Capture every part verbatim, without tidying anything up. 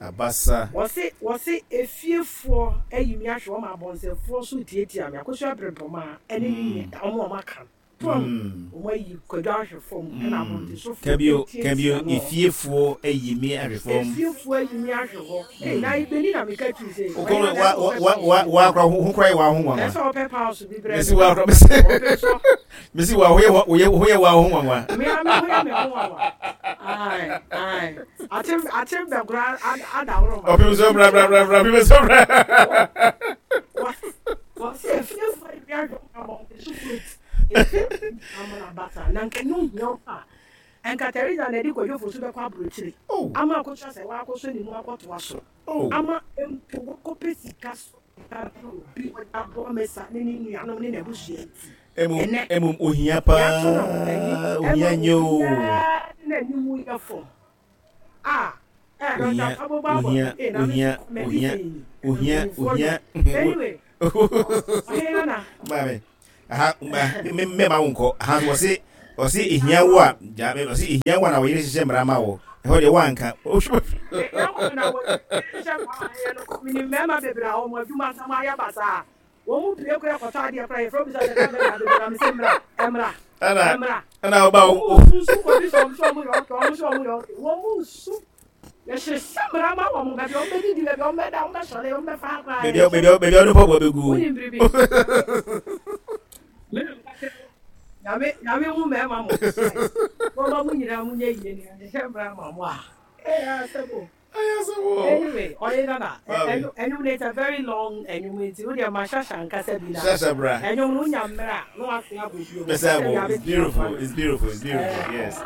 Abasa. Wɔse wɔse efiefoɔ ayi mi ahwɛ wɔn, abɔnsɛfoɔ so tietia mi. Akosua Brempɔmaa ɛne ne nua, ɔmo a ɔmo aka no fam, ɔmo ayi Kwadwo ahwɛ fam, ɛna abɔntensofoɔ Kabio. etietia Kabio. no. Efiefoɔ ayi mi ahwɛ fam. Efiefoɔ ayi mi ahwɛ hɔ ee, na ibeni na meka twi sɛ Okoro wa wa wa wa akora ho kora yɛ wa ho nwanwa. Ɛsɛ ɔpɛ paase bi brɛ. Mesi wa akora mesi ɔpɛ sɔ. Mesi wa ho yɛ ho yɛ ho yɛ wa ho nwanwa. Me a me ho yɛ me ho nwanwa. Ayi ayi, akyem akyem bɛ kora adaworo ma. Ɔpem so bra bra bra bra, ɔpem so bra. Wɔsi efiefoɔ ayi mi ahwɛ hɔ, abɔntensofoɔ etie amana basa na nka ne ohia wo a, nka Teresa na ɛde Kwadwo Fosu bɛkɔ aburokyire Oh. ama akosua sɛ wakɔsɔ ne mu akɔtoa so Oh. ama mpo wakɔpɛ sika so sika bi obi ɔde aboa mesa ne ne nuanom ne n'abusua nti. Emu Ɛnɛ, emu ohia yɛato no ayi paa, ohia ɛma nye o. Obiara ne n'anim yɛ fam a ɛ Ohia. Dɔkta Pabobɔ abɔ Ohia. ee na me Ohia. mɛdi Ohia. sɛn yi Ohia. mpanyinfoɔ Ohia. no anyway, ɔhene nana. Maame aha me me ma wo nkɔ aha, wɔse wɔse ehia wo a gya, wɔse ehia wo a na wɔyere hyehyɛ mmara ma wo, ɛhɔ deɛ woanka. Ehia wo na wɔhyehyɛ mmara yɛ no, minim mmarima bebree a wɔn adwuma nsɛm ayɛ basaa, wɔn mu pie kora kɔtɔ adeɛ kora, yɛfrɛ bisa sɛ bɛrima bebree na mesɛ mmra mmra ɛna mmra. Ɛna woba wɔn wo mu nsu kɔ bi sɛ ɔmo sɛ ɔmo yɛ ɔkɛ, ɔmo sɛ ɔmo yɛ ɔkɛ, wɔn mu nsu yɛhyehyɛ mmara ma wɔn, baabi a wɔn bɛdidi, baabi a wɔn bɛda, wɔn bɛsɔre, wɔn bɛfa akora. Baabi a baabi a baabi a ɔde mpaboa bɛgu. Wonim biribi, Nyame Nyame hu mmarima mo wɔma mo nyinaa mo nyɛ yie ni, yɛhyehyɛ mmara ma mo a ɛyɛ asɛm o. Ayɛ sɛ wo. Anyway, ɔyɛ nana. Maame. Ɛnwom no, it's a very long ɛnwom, nti wo deɛ ma Hyɛhyɛ ankasa bi na Hyɛhyɛ bra. Ɛnwom no, wonya mmerɛ a na wase abɔ bio. Bɛsɛ abɔ. It's beautiful, it's beautiful, it's beautiful, yes.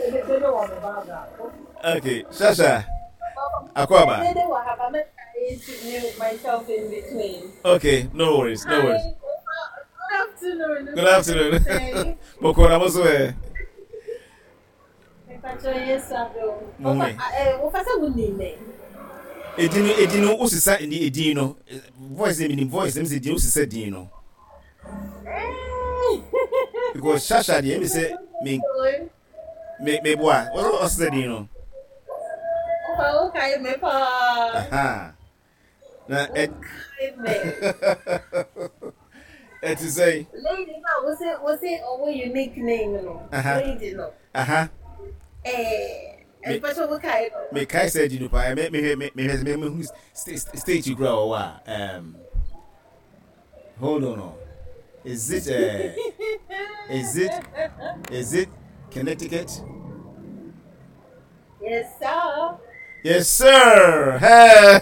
Dede wɔ me background. Okay, Shasha akɔaba. Dede wɔ ha, but I'm trying to mute myself in between. Okay, no worries, no worries. Hi, good afternoon. Good afternoon. Bɔkɔ na mo so ɛ? Mepa Yesu adom. Mo ho ɛ? Wofa sɛ wonim me. Edin no edin no wosesa ni edin no, voice mi ni voice mi sɛ din wosesa din no because Shasha deɛ, mi sɛ mi mi mi boa ɔsesa din no. Wofa wokae me paa. Aha na ɛ Wokae me. Ɛte sɛ Lady no a wose wose ɔwɔ unique name no. Aha. Lady no. Aha. Eh, Me- ɛmpɛ sɛ wokae no. Me kae sɛ di no paa, me me me me me me hu state kura wɔ hɔ a, um, hold on o, is it uh, is it is it Connecticut? Yes, sir. Yes sir, hey.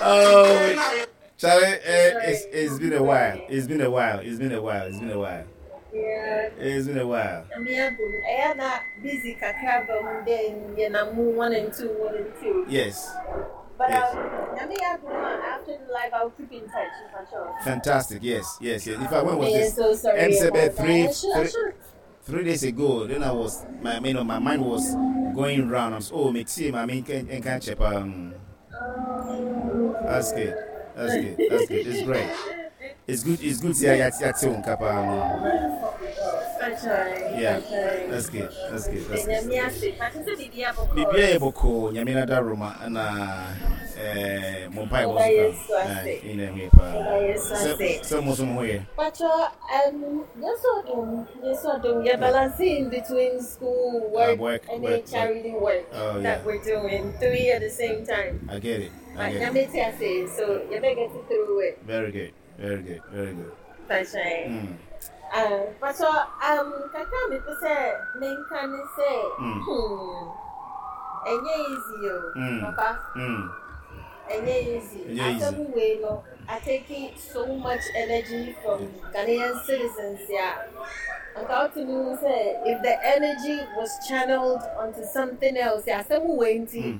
Oh Charlie, eh, it's it's been a while, it's been a while, it's been a while, it's been a while. Yeah. It's been a while. Me adom. Ɛyɛ na busy kakra ba mu, then yɛnam mu one and two, one and two. Yes. But Yes. um, Nyame adom a, after the live, I'll keep in touch for sure. Fantastic, yes yes yes In fact, when was I'm this? so sorry M about that. three I should, I three should. three days ago, then I was my you know my mind was going round. I'm so, oh, me see my main can can check um that's good, that's good, that's good. It's great, it's good, it's good. Yeah yeah yeah um yeah, that's good, that's good, that's good. Nyame ase. But sɛ biribi abɔkɔ. Biribiara yɛ bɔkɔɔ, Nyame no da Roma ɛna ɛɛ mo mpae bɔ so ka ɛɛ ɛna ɛho yɛ paa sɛ sɛ mo nso mo ho yɛ. Pacho, um, yes, adom, yes, adom. Yeah, balancing between school, work, Uh, work, and work, then charity work Oh, that yeah. we're doing, three at the same time. I get it, I But get it. Nyame te ase, so you better get it through it. Very good, very good, very good. Pacho. mm. Um, Pacho, um, kakra me pɛ sɛ menka ne sɛ, Mm. hmm, ɛnyɛ easy o, Mm. papa. Mm. Ɛnyɛ easy. Ɛnyɛ easy. Asɛm wei no, are taking so much energy from Ghanaian citizens, yeah. Nka wotumi hu sɛ if the energy was channeled onto something else, yeah, asɛm wei nti, Mm.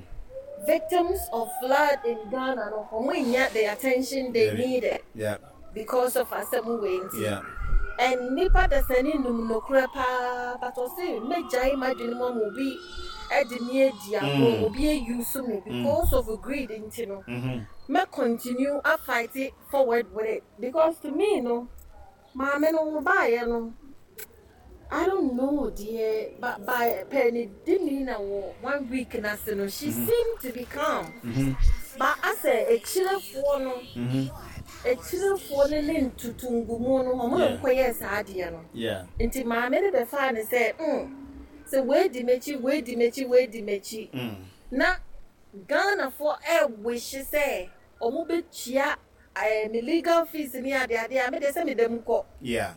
victims of flood in Ghana no, wɔn nya the attention they Yeah. needed yeah because of asɛm wei nti. yeah And nipa dasani num nokorɛ paa, but ɔse megyae m'adwene mu ama obi ɛde me adi agorɔ, Mm. obi ayi so me because of greed nti no, mm-hmm. mɛ continue a fight it forward with it, because to me no, maame no wo baayɛ no, I don't know, dear, but by Penny Dimina one week na no, she mm-hmm. seemed to be calm. Mm-hmm. But I say a chiller for no, a chiller for no tutungu no, omo koye saa no. Yeah. Nti maame ne be fa ne say, mm. So where di mechi, where di mechi, where di mechi. Mm. Na Ghana for e wish say omo be chia eh legal fees ni ade ade me de say me dem ko. Yeah.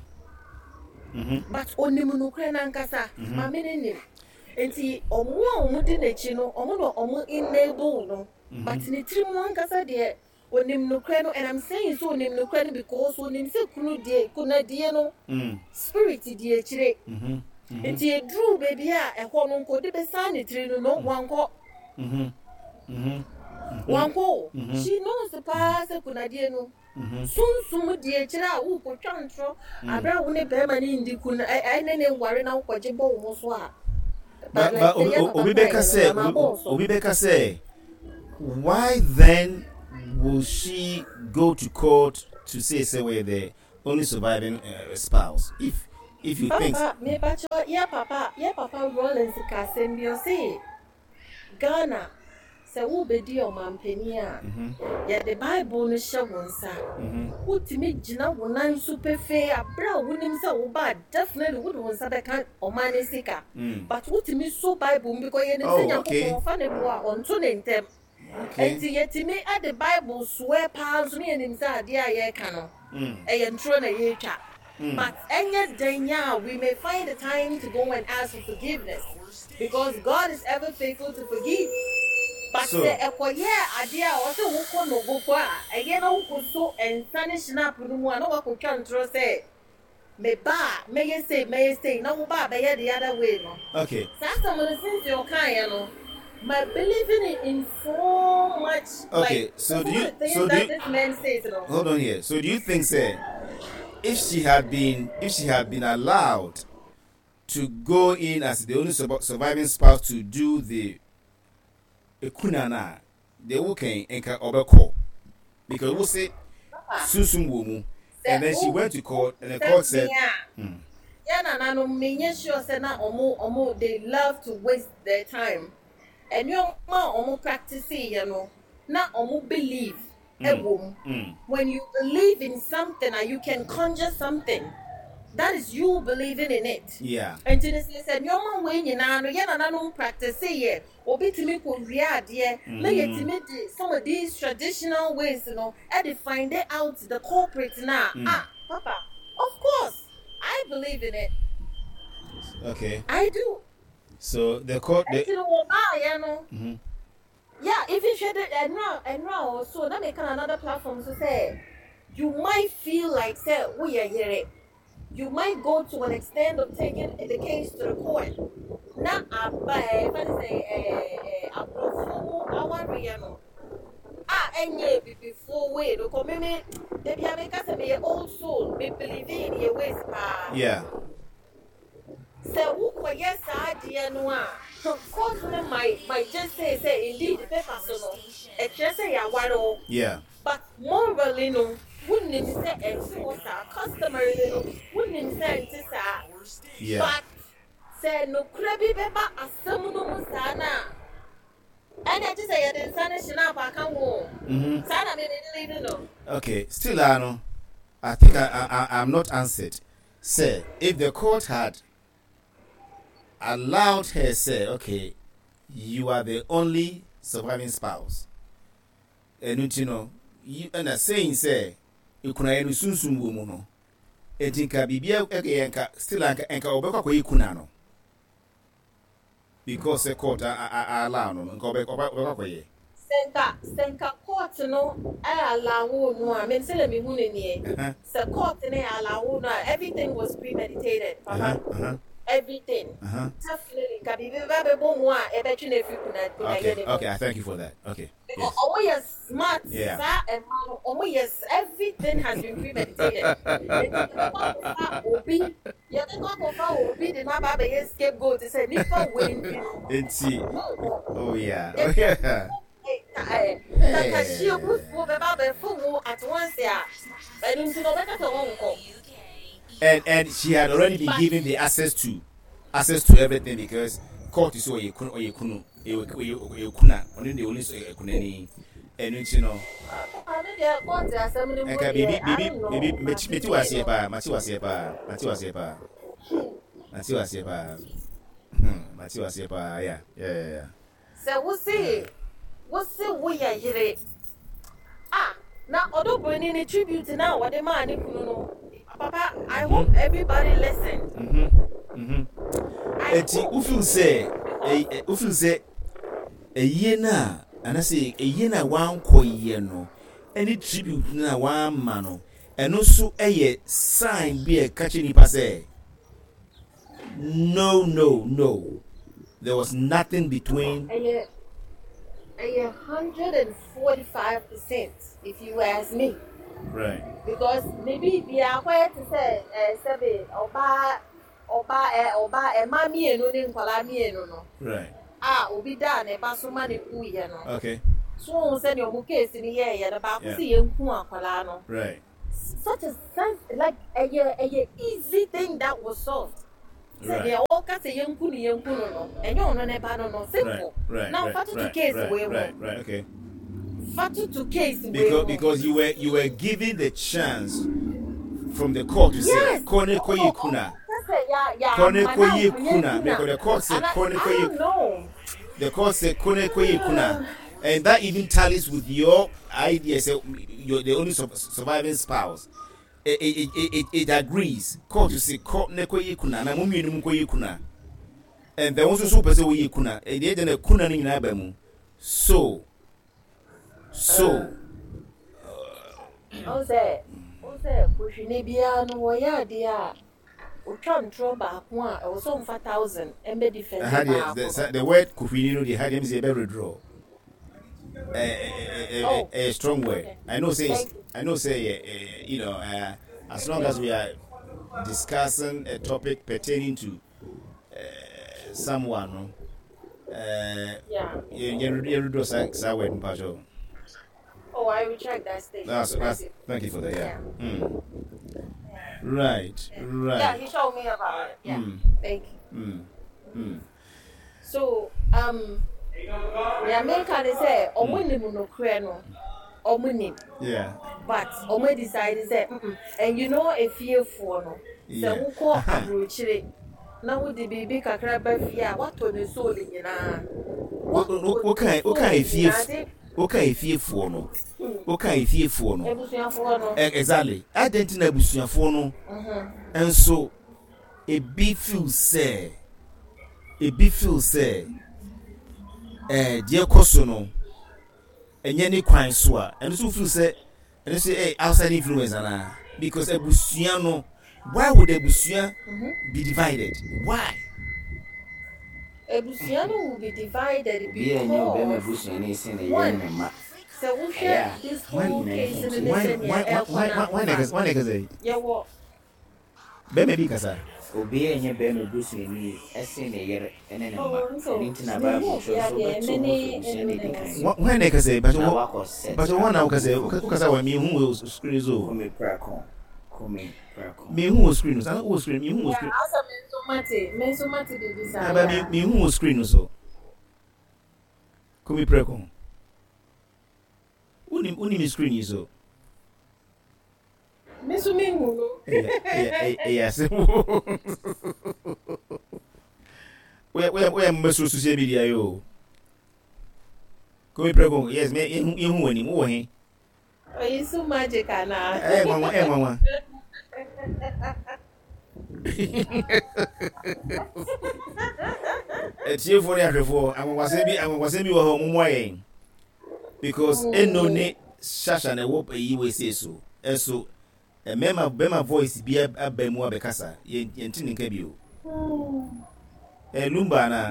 Mm-hmm. But onim no kra na nkasa ma me ne nim enti omo a omo di n'echi no omo no omo enable no but ne tiri mu ankasa de onim no kra no, and I'm saying so onim no kra no because onim se kunu de kuna de no spirit de echire mhm enti edru baby a ehọ no nko de be san ne tiri no no wanko mhm mhm wanko she knows the past kuna de no sunsum di echire a wo kotwa ntro abra wo ne bema ni ndi ku na ai ne ne nware na wo gye bo wo so a. But but Obi Beka say Obi Beka say why then will she go to court to say say we're the only surviving uh, spouse if if you papa, think me bacho yeah papa yeah papa Rollins ka sem bi o say Ghana se wo bedi o mampani a ye the Bible no hye wo nsa wotimi gina wo nan so pefe abra wonim se wo ba definitely wo wo nsa be kan o man sika but wotimi so Bible because ye ne se Nyankopon fa ne bo a onto ne ntem enti yetimi at the Bible swear pa so ne nim se ade a ye ka no e ye ntro na ye twa. But enye denya we may find the time to go and ask for forgiveness because God is ever faithful to forgive. But so, the ekoye ade a o se wo ko no go a eye na wo ko so ensa ne snap no mu a na wo ko twa ntro se me ba me ye say me ye say na wo ba be ye the other way no. Okay. Some of the things you can no my believing in so much. Okay, like, so do you so do you, this man says no. Hold on here. So do you think say if she had been if she had been allowed to go in as the only surviving spouse to do the ekunana they will can enka obeko because we say sunsum womu, and then she went to court and the court said yeah na na no me sure say na omo omo they love to waste their time and you ma omo practice you know na omo believe mm. Mm. When you believe in something and you can conjure something, that is you believing in it. Yeah. And to this said, your mom when you know, you don't practice it. Obi to me yeah. Some of these traditional ways, you know, and they find it out the culprit now. Mm. Ah, Papa, of course, I believe in it. Okay. I do. So the court the mm-hmm. Yeah, if you should and now and now also let me come another platform to say you might feel like say we are here. You might go to an extent of taking the case to the court. Now, I say, ah, and before we be old soul, me believe in your ways. Yeah. So, who yes, I dear no, court might might just say, say, indeed, the paper so no, it just say, I Yeah. But morally, no. Wouldn't say and customarily wouldn't say yeah. But say no crabby beba a summon sana. And I just say I didn't I can't go. Sana know. Okay, still I know. I think I, I I'm not answered. Say if the court had allowed her say, okay, you are the only surviving spouse. And you know, you and a saying say ikuna enu sunsum wo mu no enti nka bibia e nka still anka enka obekwa kwa ikuna no because the court allow no nka obekwa kwa ye senka senka court no e allow no a me say me hu ne nie se court ne allow no everything was premeditated papa uh-huh, uh-huh. Everything. Uh-huh. Definitely. Ka bibi ba be bo mu a e be twi na fi kuna kuna Okay, okay, I thank you for that. Okay. Yes. Oh yes, smart. Yeah. Sir, and oh yes, everything has been premeditated. Obi, you think obi the na ba be scapegoat say nipa win. Enti. Oh yeah. Oh yeah. Hey. Hey. At once yeah. And and she had already been given the access to access to everything because court is ɔyɛ kunu ɔyɛ kunu ɔyɛ kuna ɔno de ɔno yɛ kunani ɛnu nti no. Ɛnka biribi biribi biribi meti wɔ aseɛ paa, mate wɔ aseɛ paa, mate wɔ aseɛ paa, mate wɔ aseɛ paa, mate wɔ aseɛ paa, yeah yeah yeah. Sɛ wosi wosi woyɛ yere ah na Odo Broni ne tribute na wɔde maa ne kunu no, papa, I hope everybody listen. Mm-hmm. Mm-hmm. Eti wofeel sɛ ɛ wofeel sɛ ɛyie na anasɛ ɛyie na wankɔ yie no ɛne tribute na wamma no, ɛno nso ɛyɛ sign bi a ɛka kyerɛ nipa sɛ no no no, there was nothing between. Ɛyɛ ɛyɛ hundred and forty five percent if you ask me. Right. Because maybe bi akɔyɛ te sɛ ɛɛ sɛbi ɔbaa ɔbaa ɛ ɔbaa ɛmaa mmienu ne nkwadaa mmienu no. Right. A obi da ne ba so ma ne ku yɛ no. Okay. So ohun sɛ nea ɔmo case ni yɛ yɛ no baako Yeah. si yɛn ku akwadaa no. Right. Such a sense like ɛyɛ ɛyɛ easy thing that was solved. Sɛ Right. deɛ ɔka sɛ yɛn ku no yɛn ku no no ɛnyɛ ɔno ne ba no no Right. simple. Right. Now right, fa toto right, case right, wei ho. Right. Right. Okay. Fa toto case wei Because ho. because you were you were given the chance from the court to say Yes. kone koyi kuna. Kone koyi kuna, because the court said kone I koyi don't know. The court said kone koyi kuna, and that even tallies with your idea. Say you're the only surviving spouse. It it, it, it, it agrees. Court to say kone koyi kuna na mummy nu koyi kuna, and the ones who person koyi kuna. E dey na kuna ni nyina ba mu. So so. O say o say kuhwini bia no wo ya de a otwa ntro baako a e wo so mfa thousand embe defend baako. The, the word kuhwini no dey had them say be draw. A, a, a, Oh. a, a strong word. Okay. I know say Thank you. I know say uh, you know uh, as long as we are discussing a topic pertaining to uh, someone no uh Yeah. you you you draw sa word mpacho. Oh, I retract that statement. That's that's Thank you. thank you for that. Yeah. Yeah. Mm. Right. Right. Yeah, he showed me about it. Yeah. Mm. Thank you. Mm. Mm. So, um, yeah, me can say omo nim no kre no. Omo nim. Yeah. But omo decide say mm and you know efiefoɔ no. Yeah. Sɛ wokɔ aburokyire na wode biribi kakra ba fie a watɔ ne soul nyinaa. Wo kan wo kan efie wo kan efiefoɔ no. Wo kan efiefoɔ no. Ebusuafoɔ no. Exactly. Adɛn na abusuafoɔ no. Mhm. Nso ebi feel sɛ ebi feel sɛ eh deɛ kɔ so no ɛnyɛ ne kwan so a ɛno nso feel sɛ ɛno nso eh outside influence ana, because abusua no, why would abusua be divided? Why? Abusua no will be divided Obi a nyɛ ɔbɛrima because busuani sen ne yere one, ne mma. sɛ wohwɛ Yeah. this When- whole case no ne Why sɛnea why ɛkɔ why why why na na why na kasa yɛwɔ bɛrima bi kasa. Obi a nyɛ bɛrima busuani ɛsen ne yere ne ne mma. Oh, nso, Ɛno nti na mehu Bible kyerɛ sɛ obi a deɛ wobɛto me ho ne firi abusua no edi kan. Why na kasa but Na wakɔ set but wɔn na wokasa wokasa wɔ mi hu wɔ screen so Kumi prako. Kumi prako. mi hu wɔ screen so wɔ screen mi hu wɔ Yeah, screen asa me nso mate me nso mate biribi saa. aba mi mi hu wɔ screen so Kumi preko uni uni mi screen yi so. Me nso mehu no. Ɛyɛ ɛyɛ ɛyɛ asɛm. Woyɛ woyɛ woyɛ mmɛsoro social media yi o. Kumi preko, yes, me ihu ihu wɔ anim wowɔ he. Ɔyi so magic anaa? Ɛyɛ nwanwa, ɛyɛ nwanwa. Etiefoɔ ne ahwɛfoɔ, anwanwasɛm bi anwanwasɛm bi wɔ hɔ, ɔmo mmoa yɛn because eno ne shasha na ɛwɔ eyi wɔ ese so ɛso mmarima bɛrima voice bi aba mu abɛkasa yɛn yɛn ti ne nka bi o. Ɛ Lumba na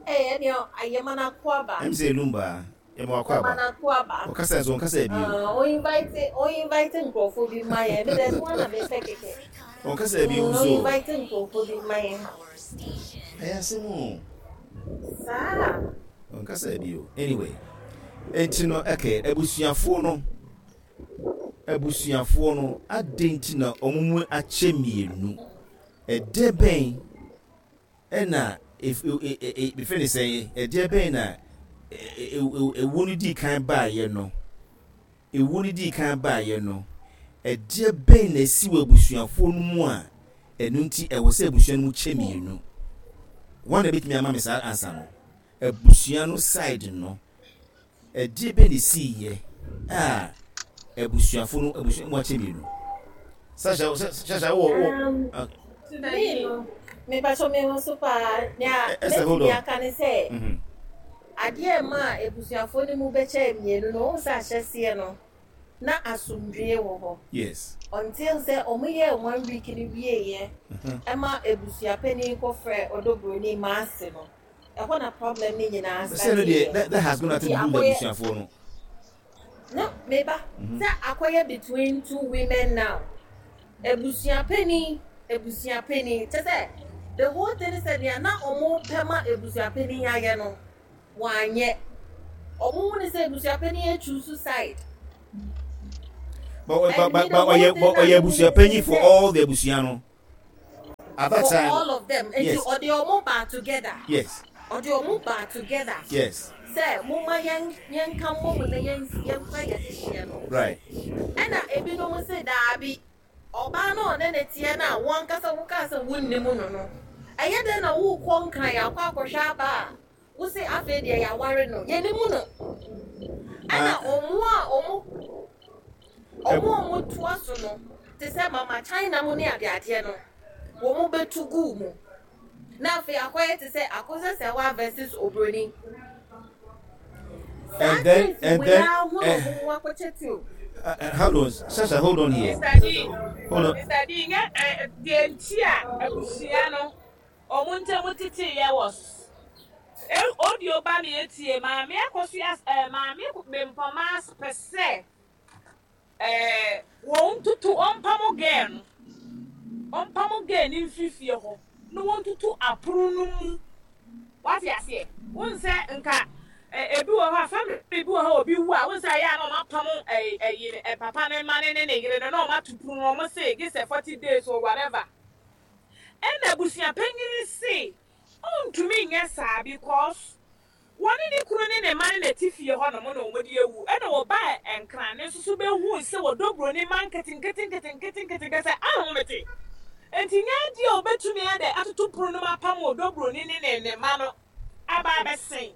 Ɛyɛ ɛnea ayɛma no akɔ aba. Ɛm sɛ Lumba yɛma wakɔ Yɛma aba. no akɔ aba. Ɔkasa nso ɔnkasa bi o. Ah, o invite o invite nkurɔfoɔ bi ma yɛn. Me dɛ no na mepɛ kɛkɛ. Ɔnkasa bi Mm, o nso. invite nkurɔfoɔ bi ma yɛn. Ɛyɛ asɛm o. Saa. Ɔnkasa bi o. Anyway, enti no ɛkɛ abusuafoɔ no Abusuafoɔ no adɛn nti na ɔmo mu akyɛ mmienu? Ɛdɛ bɛn ɛna efe ne sɛn, ɛdeɛ bɛn na ewu no di kan baayɛ no, ewu no di kan baayɛ no, ɛdeɛ bɛn na esi wɔ abusuafoɔ no mu a ɛno nti ɛwɔ sɛ abusua no mu kyɛ mmienu? Wɔn na ebetumi ama me saa ansa no, abusua no side no, ɛdeɛ bɛn na esi yɛ a abusuafo no, abusua mu akyɛ mmienu? Sasha, Sasha, wɔ wɔ. Me no, mepatɔ me ho so paa. Nea mɛtumi aka ne sɛ adeɛ ma a abusuafoɔ no mu bɛkyɛ mmienu no, wɔn sɛ ahyɛseɛ no na asomdwie wɔ hɔ. Yes. Until sɛ ɔmo yɛ one week no wieɛ, ɛma abusuapanin kɔfrɛ Ɔdɔ Broni maase no, ɛhɔ na problem ne nyinaa. Sɛ no deɛ, that that has got nothing to do with abusuafoɔ no. No, meba sɛ akɔyɛ between two women now. Abusuapanin, abusuapanin kyɛ sɛ the whole thing sɛ nea na ɔmo pɛ ma abusuapanin ayɛ no, wanyɛ. Ɔmo hu ne sɛ abusuapanin atwi side. But but but but ɔyɛ but ɔyɛ abusuapanyin for all the abusua no at that for time. All of them. Nti Yes. ɔde ɔmo ba together. Yes. Ɔde ɔmo ba together. Yes. Sɛ moma yɛn yɛnka mmom na yɛn yɛmfa yɛn hyehyɛ no. Right. Ɛna ebinom sɛ daabi, ɔbaa no ɔne ne teɛ no a wɔn ankasa wokaa sɛ wonnim no no, ɛyɛ dɛn na wokɔ Nkran akɔ akɔhwɛ aba a wose afei deɛ yɛaware no, yɛnim no? Ɛna ɔmo a ɔmo ɔmo a ɔmo toa so no te sɛ Mama China mu ne adeadeɛ no, wɔn bɛtu guu mu na afei akɔyɛ te sɛ Akosua Serwaa versus Obroni. And then and then eh, uh, uh, hold on, Sasha, hold on here. Mister D. Hold on. Mister D, nyɛ ɛ deɛ nti a abusua no ɔmo ntɛm tete yɛ wɔ audio ba mi etie. Maame Akosua, ɛɛ Maame Bempɔma pɛ sɛ ɛɛ wɔn tutu ɔmpam girl no, ɔmpam girl ne mfiri fie hɔ na wɔn tutu apono no mu. Wate aseɛ? Wɔn sɛ nka ɛ ebi wɔ hɔ a, family bi wɔ hɔ a obi wu a, wɔn sɛ ɛyɛ a na wɔn apam ɛɛ ɛyi ɛ papa ne ma ne ne ne yere no na wɔn ato pono, wɔn se gye sɛ forty days or whatever. Ɛna abusua panyin se ɔntumi nyɛ saa because wɔne ne kunu ne ne ma ne n'ati fie hɔ nom na wɔn de ewu. Ɛna wɔbaa Nkran ne nso so bɛhu sɛ Wɔdɔ Buroni ma nketenkete nketenkete nketenkete sɛ ahomete nti nyɛ adeɛ a obetumi adɛ atoto pono no mu apam Wɔdɔ Buroni ne ne ne ma no aba abɛsɛn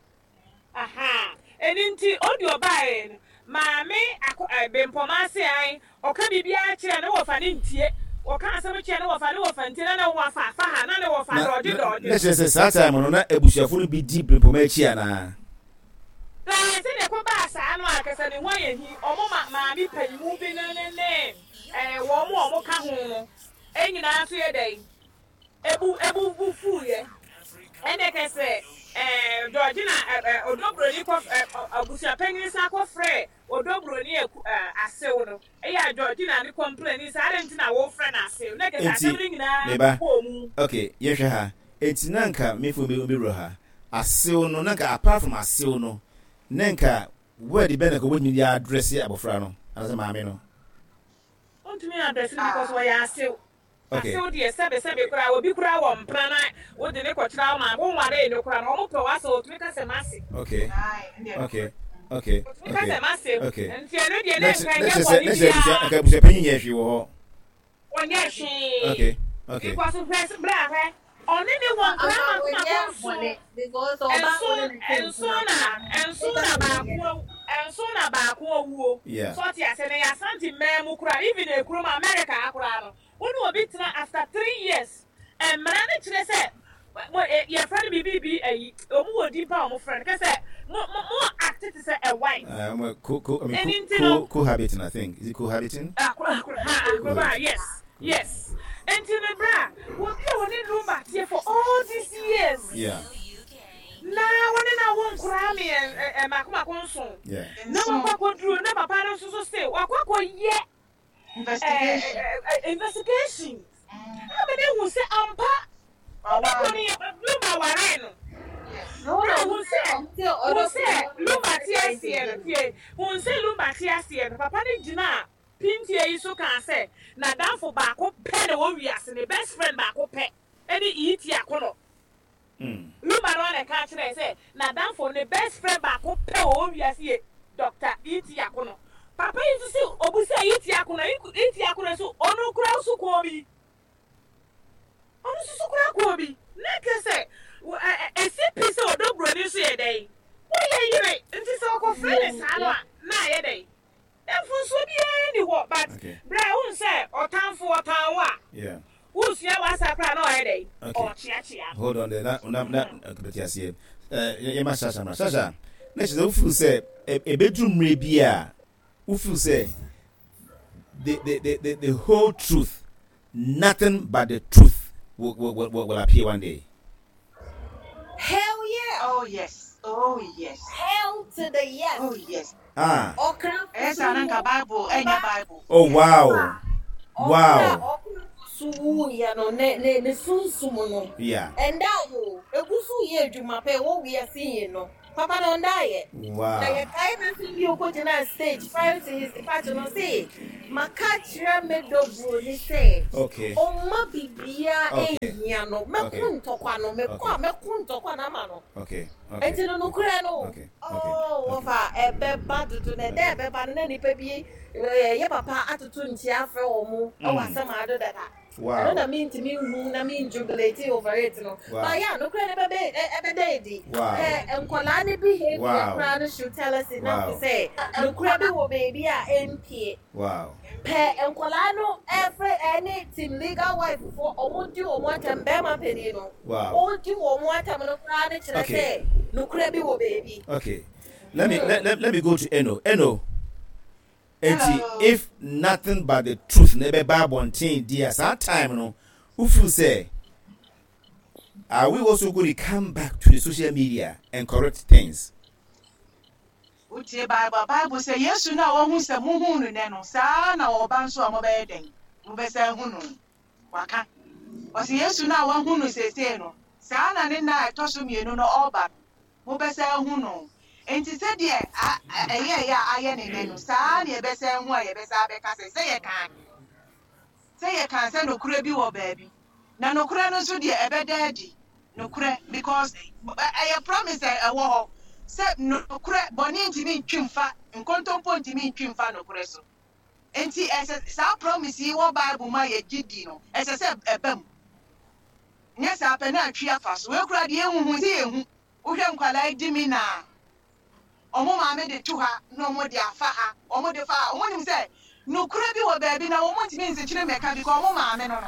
aha. Ɛni nti odi ɔbaa no maame akɔ ɛ Bempɔma ase an ɔka biribiara kyerɛ ne wɔfa ne ntie, wɔka asɛm kyerɛ ne wɔfa, ne wɔfa ntie, na ne wɔfa fa ha na ne wɔfa Na dɔɔgye na dɔɔgye. Na kyerɛ sɛ saa time no na abusuafo no bi di Bempɔma akyi anaa? Na sɛdeɛ ɛkɔ baa saa no a, kɛsɛ ne ho ayɛ hi. Ɔmo ma maame panyimu bi ne ne ne ɛɛ wɔn mo a ɔmo ka ho no ɛnyinaa nso yɛ dɛ ebu ebu bu fuuyɛ. Ɛnɛ kɛsɛ ɛɛ Georgina ɛ ɛ Ɔdɔ Buroni kɔ ɛ abusuapanyin san kɔ frɛ Ɔdɔ Buroni ɛku ɛ asew no, ɛyɛ a Georgina ne complain saa de nti na wɔfrɛ no asew na kɛsɛ Enti asɛm no nyinaa meba kɔɔ mu. Okay, yɛhwɛ ha. Enti na nka mefo mi mi wura ha asew no, na nka apart from asew no, na nka word bɛn na nka wobɛtumi de address abɔfra no anaasɛ maame no? Ɔntumi address no because wɔyɛ asew. Okay. Asew deɛ, sɛbesɛbe koraa, obi koraa wɔ mpena na wode ne kɔkyerɛ wo ma wonware no koraa no, ɔmo pɛ w'asɛ, ɔtumi ka sɛ m'ase. okay okay okay Ɔtumi ka okay sɛ m'ase. Okay. Nti ɛno deɛ na ne kyerɛ nka na nyɛ kyerɛ sɛ bɔne na kyerɛ abusua biara. nka abusuapanyin yɛ hwee wɔ hɔ. Ɔnyɛ hwee. okay okay Because hwɛ, berɛ a hwɛ, ɔne ne wɔ nkora mako mako nson nson nson na nson na baako nson na baako owuo. Yeah. So ɔte ase na yɛ Asante mmaa mu koraa, even ekurom America koraa no, wɔn ne obi tena after three years, mmara no kyerɛ sɛ mo ɛ yɛfrɛ no biribi bi ayi, ɔmo wɔ din pa a ɔmo frɛ no kɛsɛ mo mo mo act te sɛ a wife. Uh, um, co, co, I mean, And co, nti co, no cohabiting, I think. Is it cohabiting? Akora akora ha akora, yes yes Nti ne bra obi a wɔne Lumba teɛ for all these years Yeah, na wɔne na wo nkoraa mmiɛn ɛ ɛ mako mako nson yeah. na wakɔ akɔduro na papa no nso so se wakɔ akɔyɛ ɛ Investigation. ɛ ɛ investigation ama ne hu sɛ ampa ɔbɛkɔ ne Lumba ware no. Yes. Na hu sɛ hu sɛ Lumba te aseɛ no, tie, hu sɛ Lumba te aseɛ no, papa no gyina a Pintie yi so kaa sɛ n'adamfo baako pɛ na wɔ wiase, ne best friend baako pɛ ɛne E T Akonnor. Mm. Lumba no ana ka kyerɛ sɛ n'adamfo, ne best friend baako pɛ wɔ wɔ wiase yɛ Doctor E T Akonnor. Papa yi nso sɛ obusa E T Akonnor, E T Akonnor nso ɔno kura nso kɔɔ bi, ɔno nso so kura kɔɔ bi na kɛ sɛ wɔ- ɛ- ɛ- esi pi sɛ Ɔdɔ Buroni nso yɛ dɛn, wɔyɛ yere, nti sɛ ɔkɔfrɛ ne saa no a, na ayɛ dɛn, mfonsuo biara ni hɔ, but Okay. bra wohu sɛ ɔtamfo ɔtan wo a, Yeah. wosua wasa koraa na ɔyɛ dɛn, Okay. ɔkyeakyea. Hold on there. Na na na bɛte aseɛ. Ɛɛ yɛma Shasha ma Shasha. Na kyerɛ sɛ wofeel sɛ ɛ- ɛbɛduru mmerɛ bi a wofeel sɛ the the the the the whole truth, nothing but the truth will will will, will appear one day. Hell yeah. Oh yes, oh yes. Hell to the yes. Oh yes. Ah. Ɔkra. Ɛyɛ saa na nka Bible ɛnyɛ Bible. Oh wow. Wow. So wuyɛ no, ne ne ne sunsum no. Yeah. Ɛnda o, egu so yɛ adwuma pɛ wɔ wiase yi no. Papa no ɔnda yɛ. Wow. Na yɛkae n'asɛm bi okɔgyina stage prior to his departure no, sɛ maka kyerɛ me dɔ buroni sɛ Okay. ɔmma biribiara Okay. ɛnhia no, mɛko Okay. ntɔkwa no, mɛko a mɛko ntɔkwa no ama no. Okay. Okay. Nti no, nokorɛ no, Okay. Okay. oh, wɔfa ɛbɛba dodo na ɛdɛ ɛbɛba no na nipa bi ɛɛ yɛ papa atoto nkyia afrɛ wɔn mo ɛwɔ Mm. asɛm ado dada. Wow. Ɛno na mentumi nhu na menjubilate over it no. Wow. But yeah, nokorɛ no bɛbɛ ɛ- ɛbɛda adi. Wow. Ɛ nkɔlaa ne behavior Wow. koraa no should tell us enough Wow. sɛ nokorɛ bi wɔ baabi a ɛmpie. Wow. Pɛ nkɔlaa no ɛfrɛ ɛne team legal wife fo, ɔmo di wɔn atɛm, bɛrima panin no Wow. ɔdi wɔn atɛm no koraa ne kyerɛ Okay. sɛ nokorɛ bi wɔ baabi. Okay. Let me let, let, let me go to Eno. Eno. Enti Hello. if nothing but the truth na ɛbɛba abɔnten di a, saa time no wofeel sɛ are we also going to come back to the social media and correct things? Wotie Bible, Bible sɛ Yesu no a wɔhu sɛ muhu no nɛ no, saa na ɔba nso a mobɛyɛ dɛn, mobɛsɛ hu no. Waka ɔsɛ Yesu no a wɔhu no seesei no, saa na ne nna a ɛtɔ so mmienu no ɔba no mobɛsɛ hu no. Enti sɛdeɛ a- a- ɛyɛ ɛyɛ a ayɛ ne nɛ no, saa na yɛbɛsɛ hu a yɛbɛsɛ abɛka sɛ sɛ yɛka sɛ yɛka sɛ nokorɛ bi wɔ baabi, na nokorɛ no nso deɛ ɛbɛda adi nokorɛ, because ɛ- ɛyɛ promise a ɛwɔ hɔ sɛ nokorɛ bɔne ntumi ntwi mfa, nkontompo ntumi ntwi mfa nokorɛ so. Nti ɛsɛ saa promise yi wɔ Bible mu a yɛgye di no, ɛsɛ sɛ ɛba mu. Nyɛ saa pɛ na atwi afa so. Wei kora deɛ ehuhu sɛ yɛhu, wohwɛ nkwalaa yi di mi na ɔmo maame de to ha na ɔmo de afa ha, ɔmo de fa ha, ɔmo nim sɛ nokorɛ bi wɔ baabi na ɔmo ntumi nsekyere mɛka because ɔmo maame no no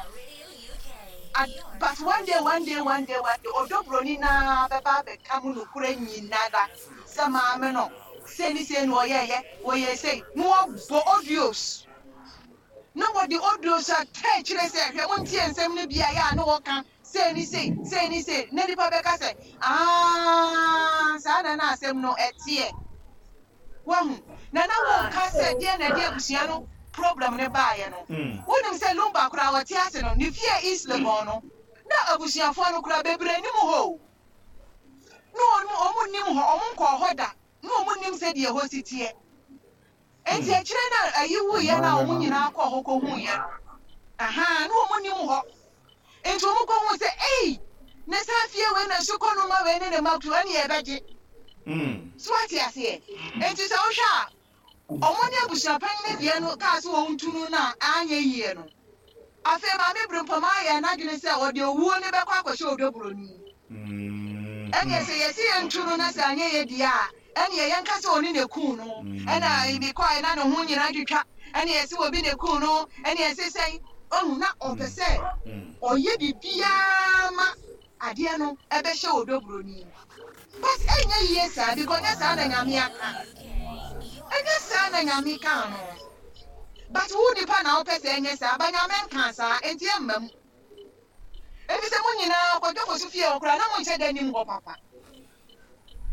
Ad, but one day, one day, one day, one day, Ɔdɔ Buroni naa bɛba abɛka mu nokorɛ nyinara sɛ maame no sei ne sei na ɔyɛɛyɛ, wɔyɛ sei na wɔbɔ audios na wɔde audios a tɛ kyerɛ sɛ hwɛ, montie nsɛm no bi a yɛ a na wɔka sei ne sei, sei ne sei, na nipa bɛka sɛ aa, saa na na asɛm no ɛteɛ. Wahu na na wɔka sɛ deɛ na ɛde abusua no problem ne baeɛ no. Mm. Wonim sɛ Lumba koraa wɔte ase no, ne fie East Legon no, na abusuafoɔ no koraa bebree nim hɔ o, na ɔmo ɔmo nim hɔ, ɔmo nkɔɔ hɔ da, na ɔmo nim sɛ deɛ hɔ si teɛ. Nti akyire na ayi wuyɛ na ɔmo nyinaa kɔɔ hɔ kɔhuiɛ no aha, na ɔmo nim hɔ, nti ɔmo kɔhu sɛ ei, ne saa fie wei na sukɔ no ma wei ne ne ma tu ɛne yɛbɛgye. Mm. So ate aseɛ? Nti sɛ wohwɛ a, ɔmo ne abusuapanyin ne deɛ no kaa sɛ wɔn tu no na anyɛ yie no, afei Maame Birimpɔm ayɛ n'adwene sɛ ɔde owuo ne bɛkɔ akɔhyɛ Ɔdɔ Buroni. Mm. Ɛnneɛ sɛ yɛsi yɛn tu no na sɛ anyɛ yɛ deɛ a, ɛnneɛ yɛnka sɛ ɔne ne kun no ɛna ebi kɔɛ na ne ho nyinaa twitwa, ɛnneɛ yɛsi obi ne kun no, ɛnneɛ yɛsi sɛn ɔhu na ɔpɛ sɛ Mm. ɔyɛ biribiara ma adeɛ no ɛbɛhyɛ Ɔdɔ Buroni, but ɛnyɛ yie saa because ɛnyɛ saa na Nyame aka, ɛnyɛ saa na Nyame ka no. But wo nipa na wopɛ sɛ ɛnyɛ saa ba, Nyame nka saa, enti ɛmma mu ebi sɛ mo nyinaa kɔdwafo so fie hɔ koraa na mo nhyɛ da nim hɔ papa.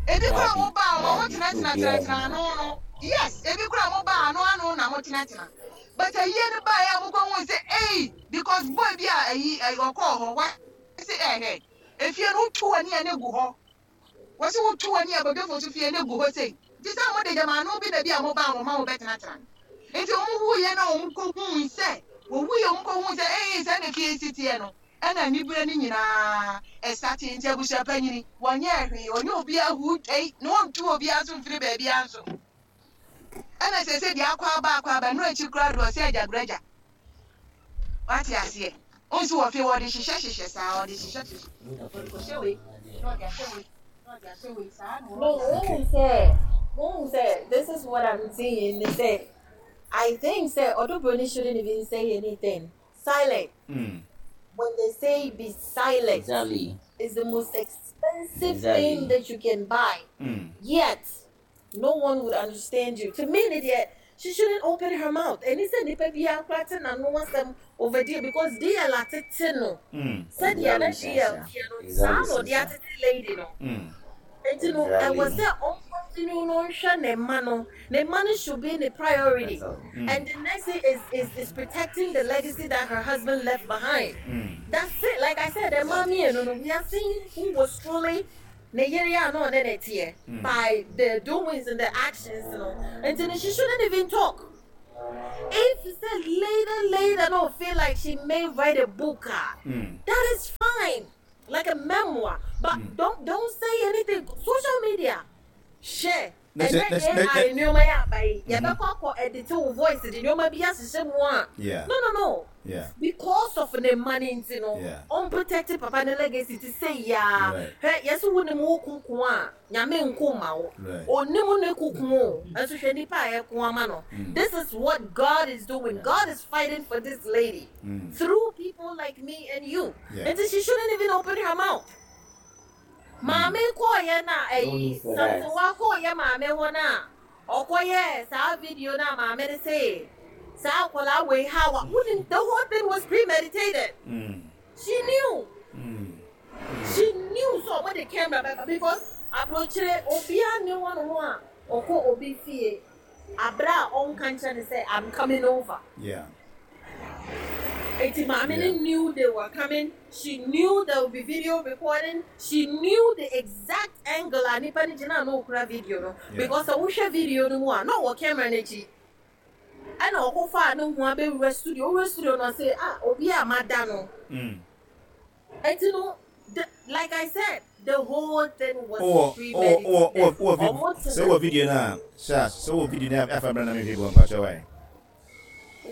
Ebi koraa mo baa mo mo tenatena tenatena ano no, yes, ebi koraa mo baa ano ano na mo tenatena, but ayie no baa yɛ a mo kɔ hu sɛ ei, because boy bi a ayi ayi ɔkɔɔ hɔ wa sɛ ɛhɛ efie no wotu w'ani a ne gu hɔ, wɔsi wotu w'ani a bɔdwafo so fie ne gu hɔ sei, nti sɛ mo de gyama ano bi na bi a mo baa mo ma mo bɛtenatena. Nti ɔmo wuyɛ na ɔmo kɔ hu sɛ wɔwuyɛ, ɔmo kɔ hu sɛ ɛyɛ sɛ ne fie si teɛ no, ɛna nibere no nyinaa ɛsate. Nti abusua panyini wɔnyɛ hwee, ɔnyɛ obiara hu twɛi na wɔntu obiara so mfiri baabiara nso. Ɛna sɛ sɛ deɛ akɔ aba akɔ aba no akyi koraa de ɔsɛ agyagoragya wate aseɛ nso wɔ fie, wɔde hyehyɛ hyehyɛ saa, ɔde hyehyɛ hyehyɛ, ɔde kɔhyɛ wei na ɔde ahyɛ wei na ɔde ahyɛ wei saa na No, wɔyɛ. wohu sɛ wohu sɛ this is what I'm saying. They say I think sɛ Odo Broni shouldn't even say anything. Silent. Mm. When they say be silent, Exactly. is the most expensive Exactly. thing that you can buy. Mm. Yet, no one would understand you. To me, deɛ, she shouldn't open her mouth. And he said, "Nipa bi akrate na no asɛm over there because D L atete no." Mm. Sɛdeɛ na Exactly, D L Sasha. teɛ no, Exactly, saa na ɔde Sasha. atete lady no. Mm. Nti no, ɛwɔ Exactly. sɛ ɔncontinue no nhwɛ ne mma no. Ne mma no should be the priority. That's all. Mm. And the next thing is, is, is protecting the legacy that her husband left behind. Mm. That's it. Like I said, the mommy and no, we are seeing who was truly ne yere a na ɔne ne teɛ Mm. by the doings and the actions, you know. And then she shouldn't even talk. If she said later, later, no, feel like she may write a book, ah, Mm. that is fine, like a memoir. But Mm. don't don't say anything. Social media, share. Na And kyɛ- then na- na- A I nneɛma yɛ aba yi, yɛbɛkɔ akɔ edit wo voice de nneɛma bi ahyehyɛ mu a. Yeah. No, no, no. Yeah. Because of ne money nti no, Yeah. unprotected papa ne legacy ti sɛ yaa. Right. Hwɛ, yɛsɛ wo ne mu wo kunkun a, Nyame nko ma wo. Right. Onim ne kunkun o. Ɛnso hwɛ nipa a yɛko ama no. Mm. This is what God is doing. God is fighting for this lady Mm. through people like me and you. Yeah. And she shouldn't even open her mouth. Maame kɔɔyɛ na No ɛyi need for that. Samson wa kɔɔyɛ maame hɔ na ɔkɔyɛ saa video na maame ne se saa akwadaa wei ha wa wunim, the whole thing was premeditated. Mm. She knew. Mm. She knew so ɔmo de camera bɛba because aburokyire obiara ne wɔn ho a ɔkɔ obi fie abira a ɔnka nkyɛn ne sɛ, "I'm coming over." Yeah. Eti maame ne Yeah. knew they were coming. She knew there would be video recording. She knew the exact angle a nipa ne gyina na okura video no. Yeah. Because sɛ wohwɛ video no mu a, na ɔwɔ camera n'akyi. Ɛna ɔkɔfa ne ho abɛwura studio. Owura studio no, ɔsɛ ah, obi a mada no. Mm. Eti no, the, like I said, the whole thing was Wowɔ wowɔ premeditated. wowɔ wowɔ wowɔ Ɔmo vi sɛ wowɔ video no a hyɛ sɛ wowɔ video no a afa brɛ na mehwɛ bi wɔ mpakyɛ wae.